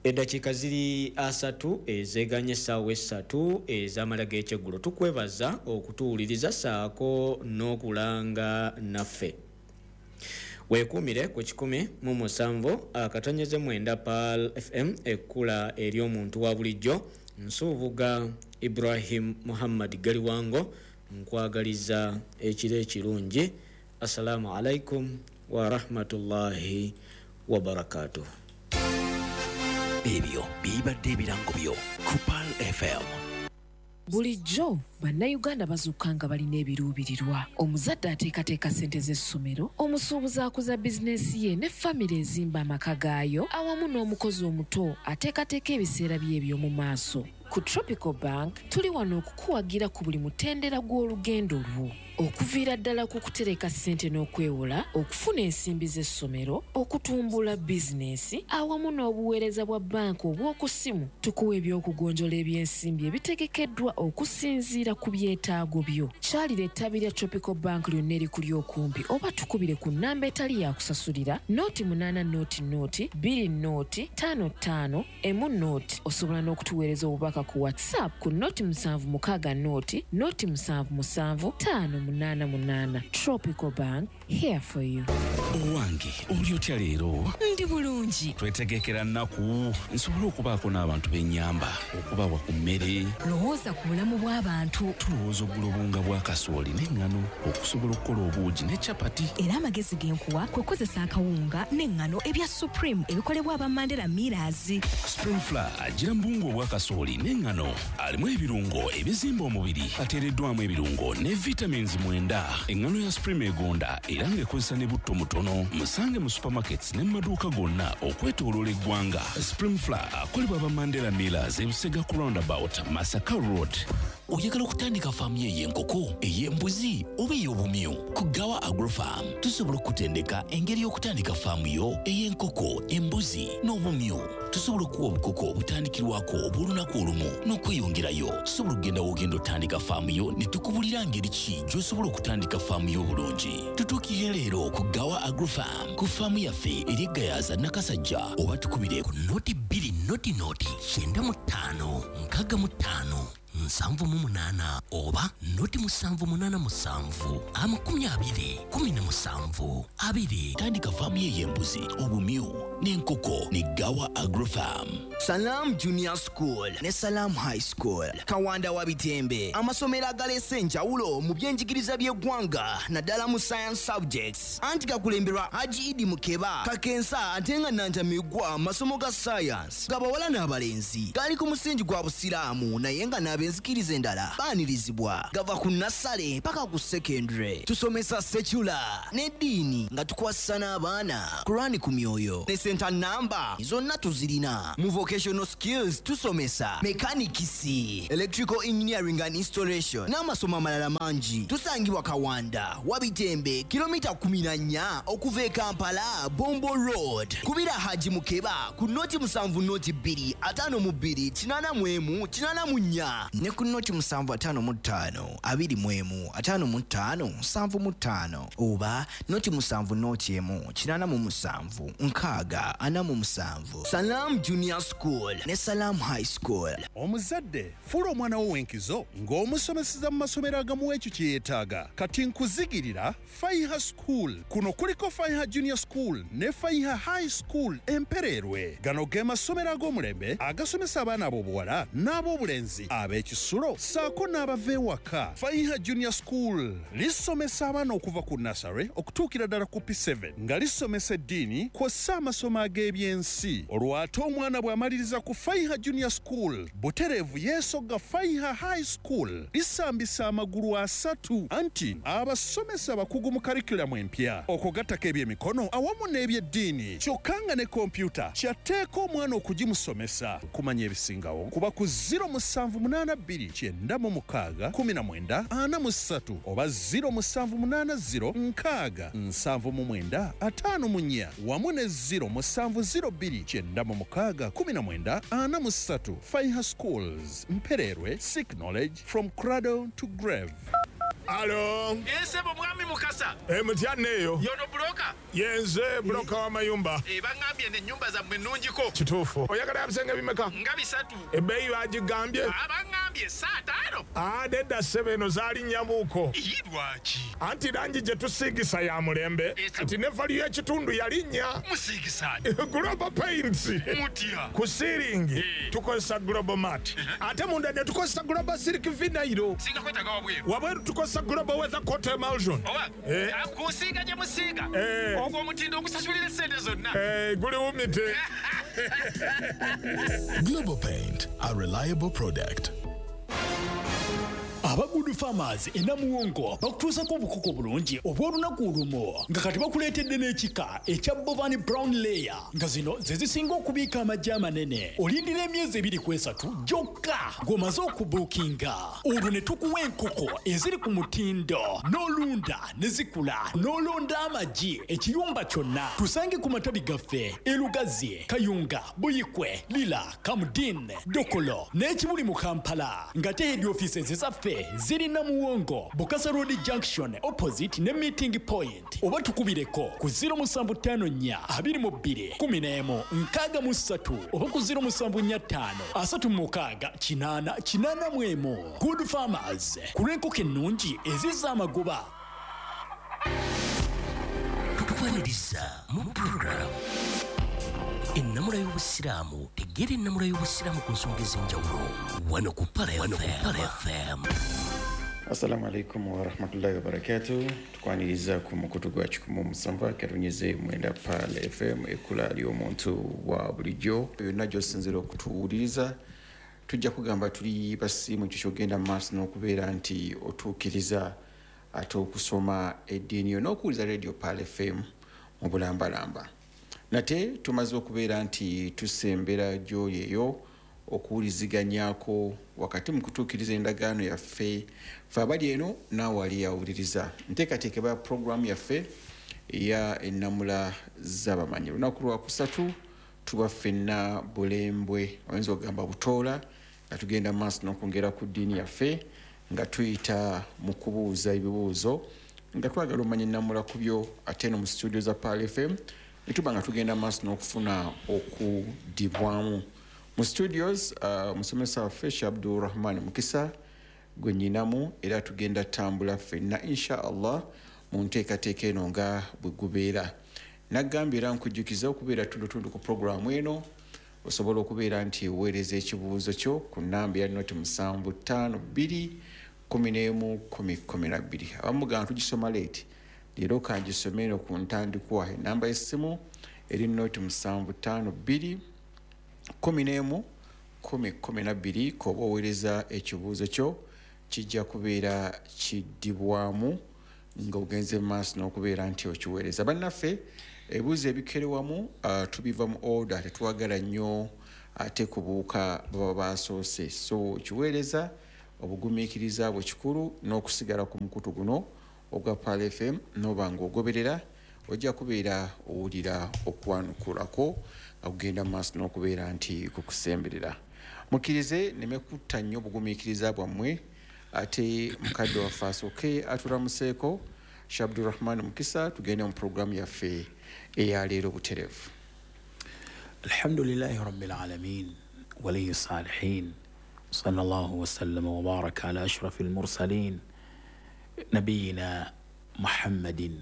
Eddakiika ziri asatu ezeeganye essaawa essatu ez'amala g'ekyeggulo. Tukwebaza okutuwuliriza ssaako n'okulanga naffe. Weekuumire ku kikumi mu musanvu akatonyeze mwenda Pearl F M, ekkula ery'omuntu wa bulijjo. Nsuubuga Ibrahim Muhammad Galiwango nkwagaliza ekiro ekirungi. Assalamu alaikum wa rahmatullahi wa barakatuh. Ebyo bibadde ebirango byo ku Pearl F M. Bulijjo bannayuganda bazuuka nga balina ebiruubirirwa. Omuzadde ateekateeka ssente z'essomero, omusuubuzi akuza bizinensi ye ne famire ezimba amaka gaayo, awamu n'omukozi omuto ateekateeka ebiseera bye eby'omu maaso. Ku Tropical Bank tuli wano okukuwagira ku buli mutendera gw'olugendo lwo. Okuviira ddala ku kutereka ssente n'okwewola, okufuna ensimbi z'essomero, okutumbula bizinensi, awamu n'obuweereza bwa banka obw'oku ssimu. Tukuwa eby'okugonjola ebyensimbi ebitegekeddwa okusinziira ku byetaago byo. Kyalira ettabi lya Tropical Bank lyonna erikuli okumpi oba tukubire ku nnamba etali yakusasulira nooti munaana nooti nooti bbiri nooti ttaano ttaano emu nooti. Osobola n'okutuweereza obubaka ku WhatsApp ku nooti musanvu mukaaga nooti nooti musanvu musanvu ttaano munaana munaana. Tropical Bank, here for you. Owange, oli otya leero? Ndi bulungi. Twetegekera nnaku nsobole okubaako n'abantu b'ennyamba, okubawa ku mmere. Lowooza ku bulamu bw'abantu. Tulowooza okugula obuwunga bwa kasooli n'eŋŋano okusobola okukola obuugi ne capati. Era amagezi ge nkuwa kwe kukozesa akawunga n'eŋŋano ebya Supreme ebikolebwa aba Mandela Millers. Supreme Flour agira mu buwunga obwa kasooli n'eŋŋano, alimu ebirungo ebizimba omubiri, ateereddwamu ebirungo ne vitamins mwenda. Eŋŋano ya Supreme egonda era ng'ekozesa ne butto mutono. Musange mu supermarkets ne mu maduuka gonna okwetooloola eggwanga. Supreme Flour akolebwa aba Mandela Millers e Busega ku roundabout Masaka Road. Oyagala okutandika faamu yo ey'enkoko, ey'embuzi oba ey'obumyu? Ku Gawa Agrofarm tusobola okutendeka engeri y'okutandika faamu yo ey'enkoko, embuzi n'obumyu. Tusobola okuwa obukoko obutandikirwako obw'olunaku olumu n'okweyongerayo. Tusobola okugenda w'ogenda otandika faamu yo ne tukubulira ngeri ki gy'osobola okutandika faamu yo obulungi. Tutuukirire leero ku Gawa Agrofarm ku faamu yaffe eri e Gayaza Nakasajja oba tukubire ku noti bbiri noti noti kyenda mu ttaano nkaaga mu ttaano nsanvu mu munaana oba noti musanvu munaana musanvu amakumi abiri kumi na musanvu abiri. Tandika faamu y'embuzi, obumyu n'enkoko ne Gawa Agrofarm. Salam Junior School ne Salam High School Kawanda wa Bitembe, amasomero agaleese enjawulo mu byenjigiriza by'eggwanga naddala mu science subjects, anti gakulemberwa Haji Idi Mukeba Kakensa ate nga Nantamigwa amasomo ga science gabawala n'abalenzi gali ku musingi gwa Busiraamu naye nga n'abenzikiriza endala baanirizibwa, gava ku nursery paka ku secondary. Tusomesa secular n'eddiini nga tukwasisa n'abaana Kurani ku myoyo ne center number zonna tuzirina. Mu vocational skills tusomesa mechanics, electrical engineering and installation n'amasomo amalala mangi. Tusangibwa Kawanda Wabitembe, kilomita kumi na nnya okuva e Kampala, Bombo Road. Kubira Haji Mukeba ku noti musanvu noti bbiri ataano mu bbiri kinaana mu emu kinaana mu nnya ne ku noti musanvu ataano mu ttaano abiri mu emu ataano mu ttaano nsanvu mu ttaano oba noti musanvu noti emu kinaana mu musanvu nkaaga ana mu musanvu. Salam Junior School ne Salam High School. Omuzadde fuula omwana wo w'enkizo ng'omusomeseza mu masomero agamuwa ekyo kye yeetaaga. Kati nkuzigirira Faiha School. Kuno kuliko Faiha Junior School ne Faiha High School Empererwe. Gano ge masomero ag'omulembe agasomesa abaana ab'obuwala n'ab'obulenzi ab'ekisulo ssaako n'abava ewaka. Faiha Junior School lisomesa abaana okuva ku nursery okutuukira ddala ku P seven nga lisomesa eddiini kw'ossa amasomo ag'ebyensi. Olwo ate omwana bw'amaliriza ku Faiha Junior School butereevu yeesogga Faiha High School lisambisa amagulu asatu, anti abasomesa abakugu mu curriculum empya okugattako ebyemikono awamu n'ebyeddiini, kyokka nga ne kompyuta kyatteeka omwana okugimusomesa. Okumanya ebisingawo kuba ku zero musanvu munaana bbiri kyenda mu mukaaga kumi na mwenda ana mu ssatu oba zero musanvu munaana zero nkaaga nsanvu mu mwenda ataano mu nnya wamu ne zero musanvu zero bbiri kyenda mu mukaaga kumi na mwenda ana mu ssatu. Faiha Schools Mpererwe, seek knowledge from cradle to grave. Alo. Ese mwami Mukasa. Eh, mutya neyo. Yono broker. Yenze broker wa mayumba. Eh, bangambye ne nyumba za mwenunjiko. Kituufu. Oyagala ebisenge bimeka? Nga bisatu. Ebbeeyi bagigambye? Ah, bangambye saa tano. Ah, nedda ssebe eno zaali nnyamuuko. Ii lwaki? Anti langi gye tusiigisa ya mulembe. Kati ne value y'ekitundu yalinnya. Musiigisa. Global Paints. Mutya. Ku ceiling tukozesa Global Mat. Ate munda ne tukozesa Global Silk Vinyl. Singa kwetaaga wabweru. Wabweru tukozesa Global Weather Coat Emulsion. Oba? Eh. Kusiiga gye musiiga. Eh. Ogwo omutindo ogusasulira ssente zonna. Eh, guli wumite. Global Paint, a reliable product. Aba Good Farmers e Namuwongo bakutuusako obukoko bulungi obw'olunaku olumu nga kati bakuleetedde n'ekika ekya Bovani Brown Layer nga zino ze zisinga okubiika amagi amanene. Olindira emyezi ebiri ku esatu gyokka ng'omaze okubuukinga, olwo ne tukuwa enkoko eziri ku mutindo n'olunda ne zikula n'olonda amagi ekiyumba kyonna. Tusange ku matabi gaffe e Lugazi, Kayunga, Buyikwe, Lira, Kamudin, Dokolo n'ekibuli mu Kampala nga te head offices zaffe ziri Namuwongo, Bukasa Road Junction opposite ne meeting point, oba tukubireko ku zero musanvu ttaano nnya abiri mu bbiri kumi n'emu nkaaga mu ssatu oba ku zero musanvu nnya ttaano asatu mu mukaaga kinaana kinaana mu emu. Good Farmers, ku lw'enkoko ennungi ezizza amagoba. Tukwaniriza mu program ennamula y'Obusiraamu. Tegeera ennamula y'Obusiraamu ku nsonga ez'enjawulo wano ku Pala F M. Assalamu alaikum warahmatullahi wabarakatuh. Tukwaniriza ku mukutu gwa kikumu musanvu akarunyeze mwenda Pala F M ekula ly'omuntu wa bulijjo. Yonna gy'osinziira okutuwuliriza tujja kugamba tuli basiimu ekyo ky'ogenda mu maaso n'okubeera nti otuukiriza ate okusoma eddiini yo n'okuwuliza Radio Pala F M mu bulambalamba. Nate tumaze okubeera nti tusembera gy'oli eyo okuwuliziganyako wakati mu kutuukiriza endagaano yaffe ffe abali eno naawe ali awuliriza. Nteekateeka eba puroguramu yaffe eya ennamula z'abamanyi. Olunaku lwa kusatu tuba ffenna bulembwe, oyinza okugamba butoola, nga tugenda mu maaso n'okwongera ku ddiini yaffe nga tuyita mu kubuuza ebibuuzo nga twagala omanya ennamula ku byo ate eno mu studio za Pala F M ne tuba nga tugenda mu maaso n'okufuna okuddibwamu. Mu studios uh, musomesa waffe Sheikh Abdurrahman Mukisa gwe nnyinamu, era tugenda tambula ffenna insha Allah mu nteekateeka eno nga bwe gubeera. Nagambye era nkujjukiza okubeera tundutundu ku puroguramu eno, osobola okubeera nti oweereza ekibuuzo kyo ku nnamba ya noti musanvu ttaano bbiri kumi n'emu kumi kumi na bbiri. Abamu gamba tugisoma leeti, leero kangisome eno ku ntandikwa. Ennamba y'essimu eri noti musanvu ttaano bbiri kumi n'emu kumi kumi na bbiri. K'oba oweereza ekibuuzo kyo kijja kubeera kiddibwamu ng'ogenze mu maaso n'okubeera nti okiweereza. Bannaffe ebibuuzo ebikerewamu uh, tubiva mu order, tetwagala nnyo ate kubuuka baba basoose. So kiweereza obugumiikiriza bwe kikulu n'okusigala ku mukutu guno ogwa Pearl F M, n'oba ng'ogoberera ojja kubeera owulira okwanukulako okugenda mu maaso n'okubeera nti kukusemberera. Mukkirize nneme kutta nnyo obugumiikiriza bwammwe, ate mukadde waffe asooke atulamuseeko Sheikh Abdurrahman Mukisa, tugende mu puroguramu yaffe eyaleero butereevu. Alhamdulillahi rabbil alamin waliyi salihin sallallahu wasallama wa baraka ala ashrafil mursalin nabiyina Muhammadin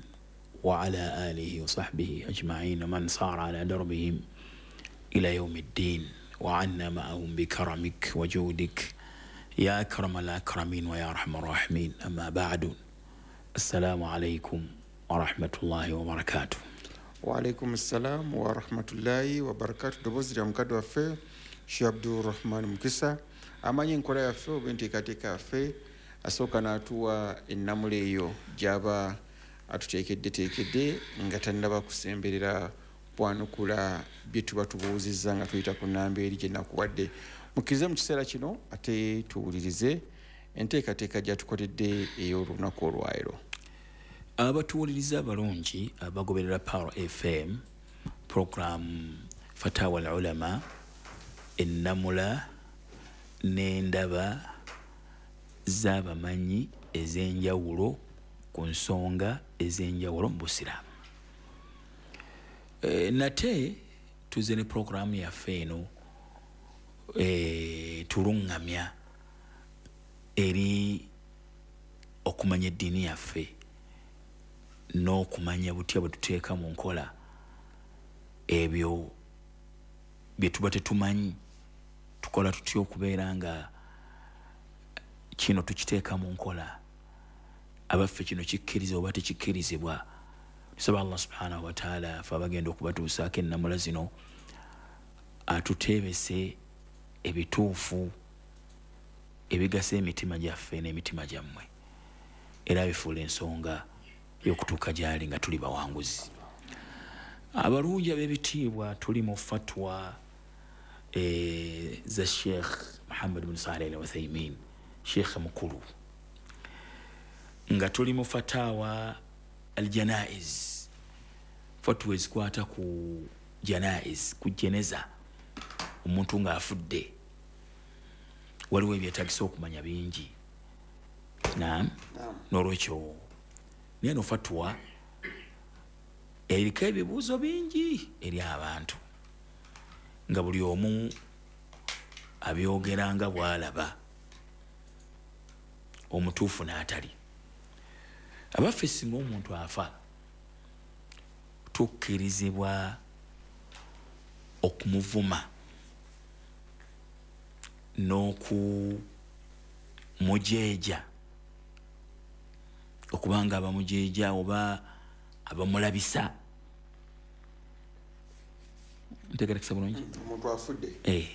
wa ala alihi wa sahbihi ajma'in wa man sara ala darbihim ila yawmiddin wa anna ma'ahum bikaramik wa judik ya akramal akramin wa ya arhamar rahimin. Amma ba'du, assalamu alaykum wa rahmatullahi wa barakatuh. Wa alaykum assalam wa rahmatullahi wa barakatuh. Ddoboozi lya mukadde waffe Sheikh Abdurrahman Mukisa, amanyi enkola yaffe oba enteekateeka yaffe, asooka n'atuwa ennamula eyo gy'aba atuteekeddeteekedde nga tannaba kusemberera kwanukula bye tuba tubuuzizza nga tuyita ku nnamba eri gye nakuwadde. Mukkirize mu kiseera kino ate tuwulirize enteekateeka gy'atukoledde ey'olunaku olwaleero. Abatuwuliriza abalungi abagoberera Pearl F M program Fatawa al-Ulama, ennamula n'endaba z'abamanyi ez'enjawulo ku nsonga ez'enjawulo mu Busiraamu. E, nate tuze ne programu yaffe eno e, tuluŋŋamya eri okumanya eddiini yaffe n'okumanya butya bwe tuteeka mu nkola ebyo bye tuba tetumanyi, tukola tutya okubeera nga kino tukiteeka mu nkola, abaffe kino kikkiriza oba tekikkirizibwa. Tusaba Allah subhanahu wa ta'ala ffe abagenda okubatuusaako ennamula zino atuteebese ebituufu ebigasa emitima gyaffe n'emitima gyammwe, era bifuula ensonga y'okutuuka gy'ali nga tuli bawanguzi. Abalungi ab'ebitiibwa, tuli mu fatwa e, za Sheikh Muhammad bin Saleh Al Uthaymin, Sheikh mukulu, nga tuli mu fatawa aljanaiz, fatwa ezikwata ku janaiz, ku jeneza, omuntu ng'afudde. Waliwo ebyetaagisa okumanya bingi. Naam, n'olwekyo naye no fatwa eriko ebibuuzo bingi eri abantu, nga buli omu abyogera nga bw'alaba, omutuufu n'atali. Abaffe singa omuntu afa tukkirizibwa okumuvuma n'okumujeeja, okubanga abamujeeja oba abamulabisa. Ntegerekesa bulungi? Omuntu afudde eh,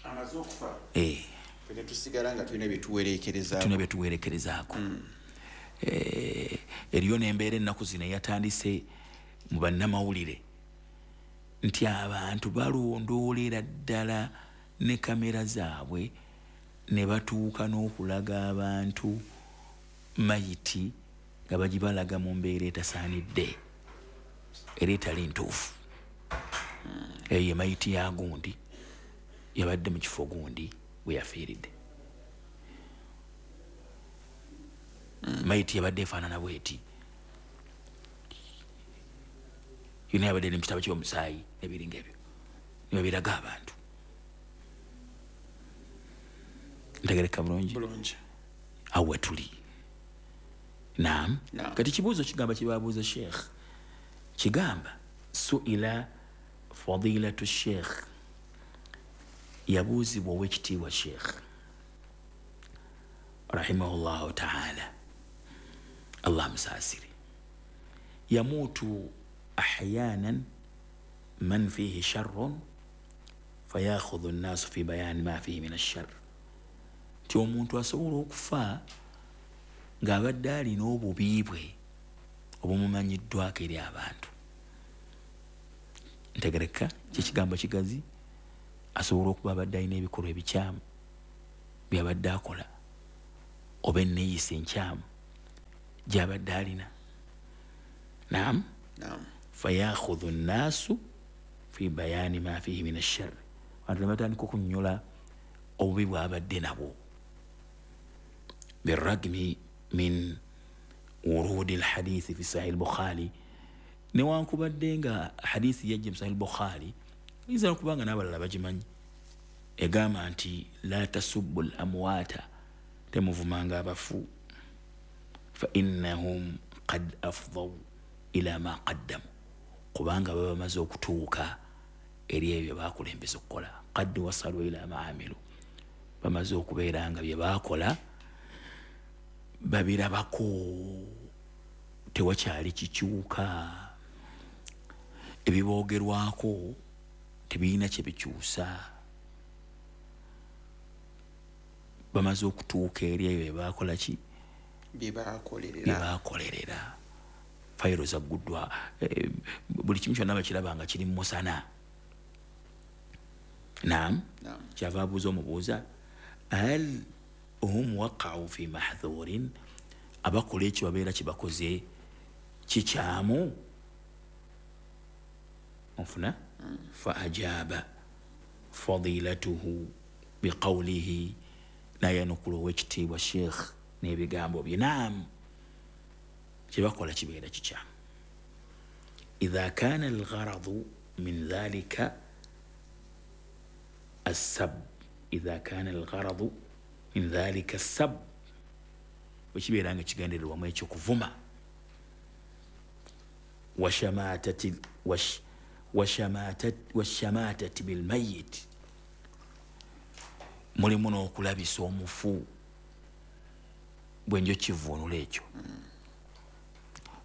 amaze okufa eh, ffe tusigala nga tulina bye tuwereekerezaako, tulina bye tuwereekerezaako. Mm. Eh, eriyo n'embeera ennaku zino eyatandise mu bannamawulire nti abantu balondoolera ddala ne kamera zaabwe ne batuuka n'okulaga abantu mayiti nga bagibalaga mu mbeera etasaanidde era etali ntuufu. Eyo ye mayiti ya gundi yabadde mu kifo gundi we yafiiridde. Mayiti yabadde efaanana bweti, yonna yabadde ne mu kitabo ky'omusaayi n'ebiringa ebyo, ne babiraga abantu. Ntegereka bulungi? Bulungi. Awe tuli. Naam. Kati kibuuzo kigamba kibabuuza Sheikh. Kigamba suila fadilatu Sheikh, yabuuzibwa owekitiibwa Sheikh rahimahullahu ta'ala, Allah musaasire. Yamutu ahyanan man fihi sharrun fayakhudhu an-nasu fi bayan ma fihi min ash-sharr. Nti omuntu asobola okufa ng'abadde alina obubi bwe obumumanyiddwako eri abantu. Ntegereka kyekigambo kigazi, asobola okuba abadde alina ebikolwa ebikyamu byabadde akola oba enneeyisa enkyamu gy'abadde alina. Naam. Fayakhudhu nnaasu fi bayani ma fihi min ash-sharr, abantu ne batandika okunnyonnyola obubi bw'abadde nabwo. Biragmi min wurudi alhadithi fi sahih al-Bukhari, newankubadde nga hadithi yajja mu sahih al-Bukhari, yinza okuba nga n'abalala bagimanyi, egamba nti la tasubbu al-amwata, temuvumanga abafu, fa innahum qad afdaw ila ma qaddamu, kubanga baba bamaze okutuuka eri ebyo bakulembeza okukola. Qad wasalu ila ma amilu, bamaze okubeera nga bye baakola babirabako, tewakyali kikyuka, ebiboogerwako tebirina kye bikyusa, bamaze okutuuka eri ebyo bye baakola ki bye baakolerera. Fayiro zagguddwa, buli kimu kyonna bakiraba nga kiri mu musana. Naam. Kyava abuuza omubuuza hal hum waqa'u fi mahdhurin, abakola ekyo babeera kibakoze kikyamu? Onfuna? Fa ajaba fadilatuhu biqawlihi, nayanukula owekitiibwa Sheikh n'ebigambo bye. Naam, kyebakola kibeera kikyamu. Idha kana algharadu min dhalika assab, idha kana algharadu min dhalika assab, bwe kibeera nga kigendererwamu ekyo kuvuma. Washamatati wash washamatati bilmayit, mulimu n'okulabisa omufu, bwe njo kivuunula ekyo,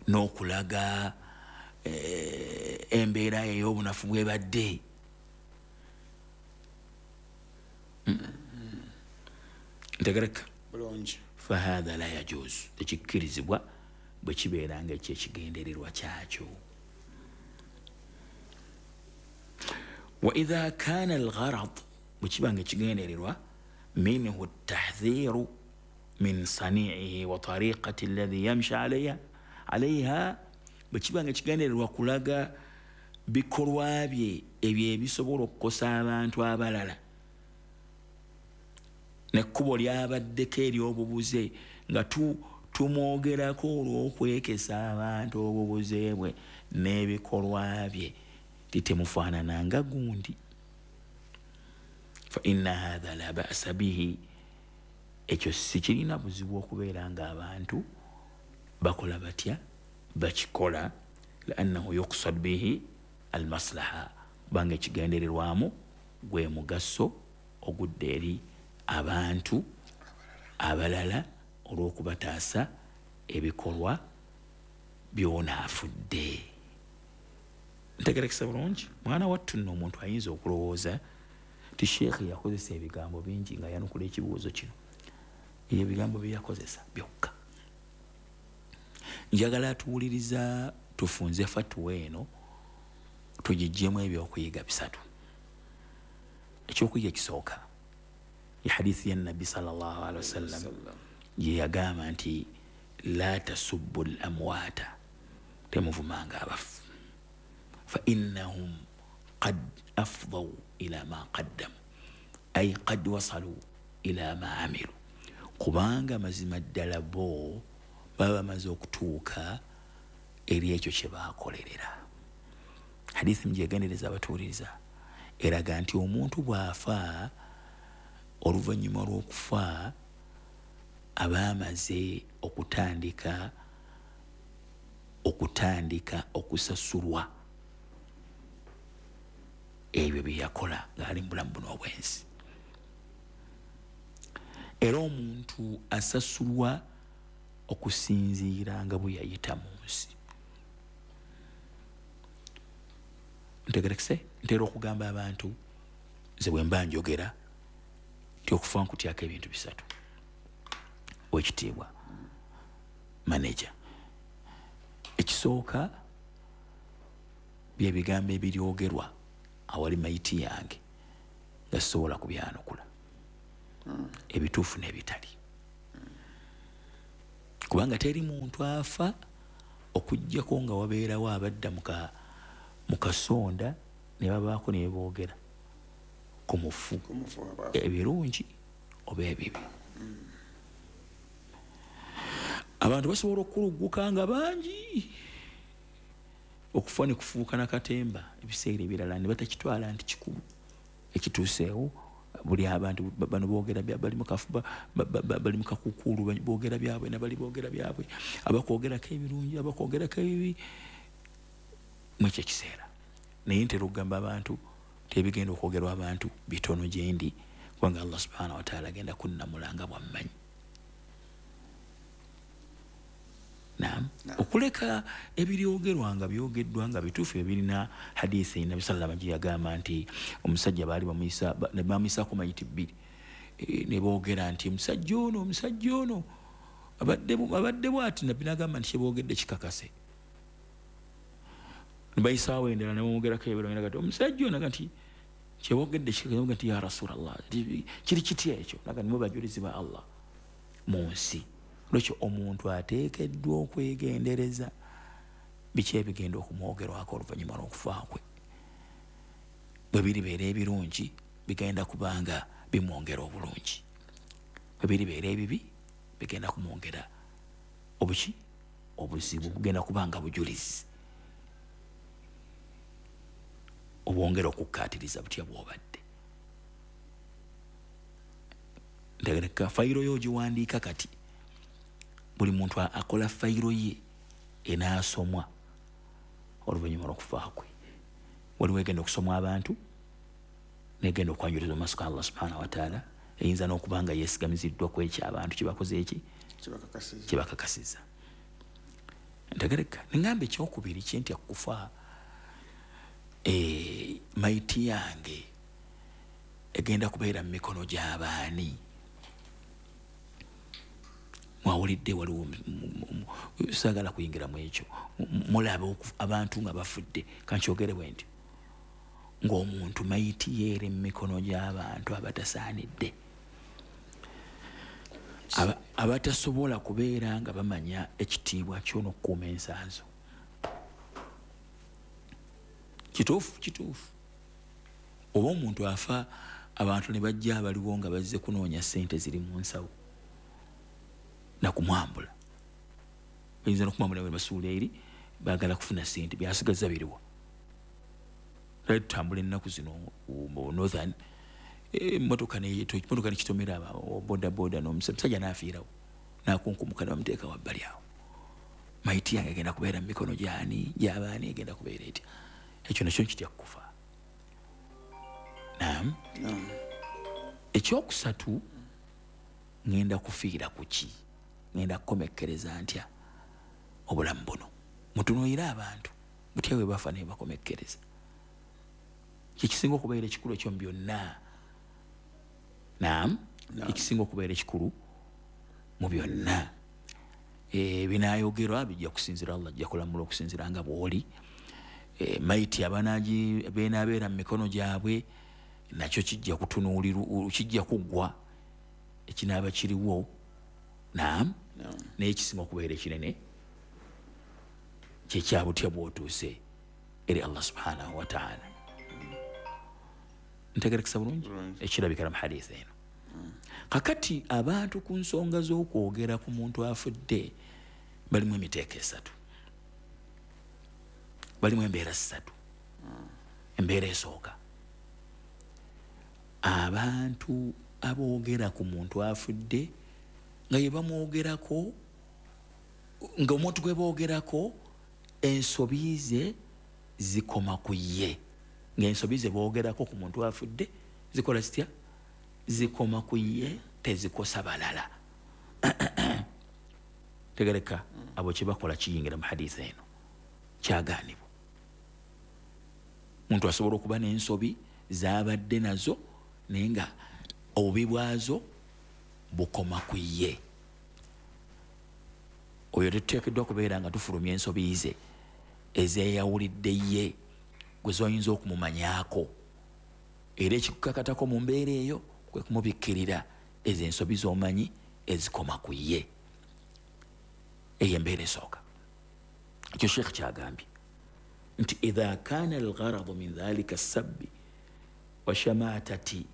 n'okulaga embeera ey'obunafu bwebadde. Ntegereka bulungi. Fahatha la yajuzu, tekikkirizibwa bwe kibeera nga ekyo ekigendererwa kyakyo. Wa idha kana algharad, bwe kiba nga ekigendererwa minhu tahdhiru min sani'ihi wa tariqati alladhi yamshi alayha alayha, bwe kiba nga ekigendererwa kulaga bikolwa bye ebyo ebisobola okukosa abantu abalala nekkubo lyabaddeko ery'obubuze nga tumwogerako olw'okwekesa abantu obubuze bwe n'ebikolwa bye, titemufaanananga gundi. Fa inna hatha la ba'sa bihi, ekyo si kirina buzibu okubeera nga abantu bakola batya bakikola, liannahu yuqsad bihi almaslaha, kubanga ekigendererwamu gwe mugaso ogudde eri abantu abalala olw'okubataasa ebikolwa by'onaafudde. Ntegerekesa bulungi? Mwana wattu nno omuntu ayinza okulowooza ti Sheikh yakozesa ebigambo bingi nga yanukula ekibuuzo kino. Ebyo ebigambo bye yakozesa byokka. Njagala atuwuliriza tufunze fatuwa eno tugiggyemu ebyokuyiga bisatu. Ekyokuyiga ekisooka ya hadithi ya Nabbi sallallahu alaihi wasallam gye yagamba nti la tasubbu al-amwata, temuvumanga abafu, fa innahum qad afdaw ila ma qaddamu, ay qad wasalu ila ma amilu, kubanga mazima ddala bo baba bamaze okutuuka eri ekyo kye baakolerera. Hadithi mugyegendereza abatuwuliriza eraga nti omuntu bw'afa Oluvannyuma lw'okufa abaamaze okutandika okutandika okusasulwa ebyo bye yakola ng'ali mu bulamu buno obw'ensi. Era omuntu asasulwa okusinziira nga bwe yayita mu nsi. Ntegerekese, ntera okugamba abantu nze bwe mba njogera nti okufa nkutyako ebintu bisatu. Owekitiibwa manager, ekisooka bye bigambo ebiryogerwa awali mayiti yange nga sisobola kubyanukula, ebituufu n'ebitali, kubanga teri muntu afa okuggyako nga wabeerawo abadda mu kasonda ne babaako ne boogera ku mufu ebirungi oba ebibi. Abantu basobola okulugguka nga bangi okufa ne kufuuka nakatemba ebiseera ebirala ne batakitwala nti kikulu ekituuseewo. Buli abantu bano boogera bali mu kafuba, bali mu kakukuulu, boogera byabwe nabali boogera byabwe, abakwogerako ebirungi abakwogerako ebibi mwekyo ekiseera. Naye ntera okugamba abantu nti ebigenda okwogerwa abantu bitono gye ndi, kubanga Allah subhanahu wa ta'ala agenda kunnamula nga bw'ammanyi. Naam, okuleka ebiryogerwa nga byogeddwa nga bituufu ebirina hadithi Nabbi sallallahu alayhi wasallam yagamba nti omusajja baali bamuyisa ne bamuyisaako mayiti bbiri, e, ne boogera nti omusajja ono omusajja ono abadde abadde bw'ati. Nabbi n'agamba nti kyeboogedde kikakase. Ne bayisaawo endala ne bamwogerako ebirungi nti omusajja ono nti kyeboogedde kikakase, nti ya Rasulallah, kiri kitya ekyo? Naga nimwe bajulizi ba Allah mu nsi. Lwekyo omuntu ateekeddwa okwegendereza biki ebigenda okumwogerwako oluvannyuma lw'okufa kwe. Bwe biribeera ebirungi bigenda kubanga bimwongera obulungi, bwe biribeera ebibi bigenda kumwongera obuki obuzibu, bugenda kubanga bujulizi obwongera okukkaatiriza butya bw'obadde. Ntegereka fayiro yo ogiwandiika kati, buli muntu akola fayiro ye enaasomwa oluvannyuma lw'okufa kwe. Waliwo egenda okusomwa abantu negenda okwanjulizibwa mu maaso ga Allah subhanahu wa ta'ala, eyinza n'okuba nga yeesigamiziddwa ku ekyo abantu kye bakoze eki kye bakakasizza. Ntegereka nengamba ekyokubiri kye ntya kufa, e, mayiti yange egenda kubeera mu mikono gy'abaani. Mwawulidde waliwo saagala kuyingira mu ekyo, mulaba abantu nga bafudde, kankyogere bwe ntyo, ng'omuntu mayiti yeere mu mikono gy'abantu abatasaanidde, abatasobola kubeera nga bamanya ekitiibwa kyo n'okukuuma ensanso. Kituufu kituufu. Oba omuntu afa abantu ne bajja abaliwo nga bazze kunoonya ssente ziri mu nsawo nakumwambula, bayinza n'okumwambula bwe basuula eri baagala kufuna ssente, byasigaza biriwa. Lwali tutambula ennaku zino mu northern, emmotoka emmotoka nekitomera bodaboda n'omusajja n'afiirawo n'akunkumuka ne bamuteeka wabbali awo. Mayiti yange egenda kubeera mu mikono gy'ani gy'abaani, egenda kubeera etya? Ekyo nakyo nkitya kufa. Naam. Ekyokusatu, ngenda kufiira ku ki? Ngenda kukomekkereza ntya obulamu buno? Mutunuulire abantu butya bwe bafa ne bakomekkereza. Kyekisinga okubeera ekikulu ekyo mu byonna. Naam, ekisinga okubeera ekikulu mu byonna. E, binaayogerwa bijja kusinziira Allah ajja kulamula okusinziira nga bw'oli. E, mayiti abanaagi beenaabeera mu mikono gyabwe nakyo kijja kutunuulirwa, kijja kuggwa ekinaaba kiriwo. Naam, naye ekisinga okubeera ekinene kyekyabutya bw'otuuse eri Allah subhanahu wa ta'ala. Ntegerekesa bulungi ekirabikira mu hadithi eno. Kakati abantu ku nsonga z'okwogera ku muntu afudde balimu emiteeko esatu, balimu embeera ssatu. Embeera esooka, abantu Aboogera ku muntu afudde nga ye bamwogerako, nga omuntu gwe boogerako ensobi ze zikoma ku ye, ng'ensobi ze boogerako ku muntu afudde zikola zitya? Zikoma ku ye, tezikosa balala. Tegereka, abo kye bakola kiyingira mu hadisi eno, kyagaanibwa. Muntu asobola okuba n'ensobi z'abadde nazo naye nga obubi bwazo bukoma ku ye. Oyo tetuteekeddwa kubeera nga tufulumya ensobi ze ezeeyawulidde ye gwe zoyinza okumumanyaako, era ekikukakatako mu mbeera eyo kwe kumubikkirira ezo ensobi z'omanyi ezikoma ku ye. Eyo embeera esooka. Ekyo Sheikh kyagambye nti idha kana algharadu min dhalika sabbi wa shamatati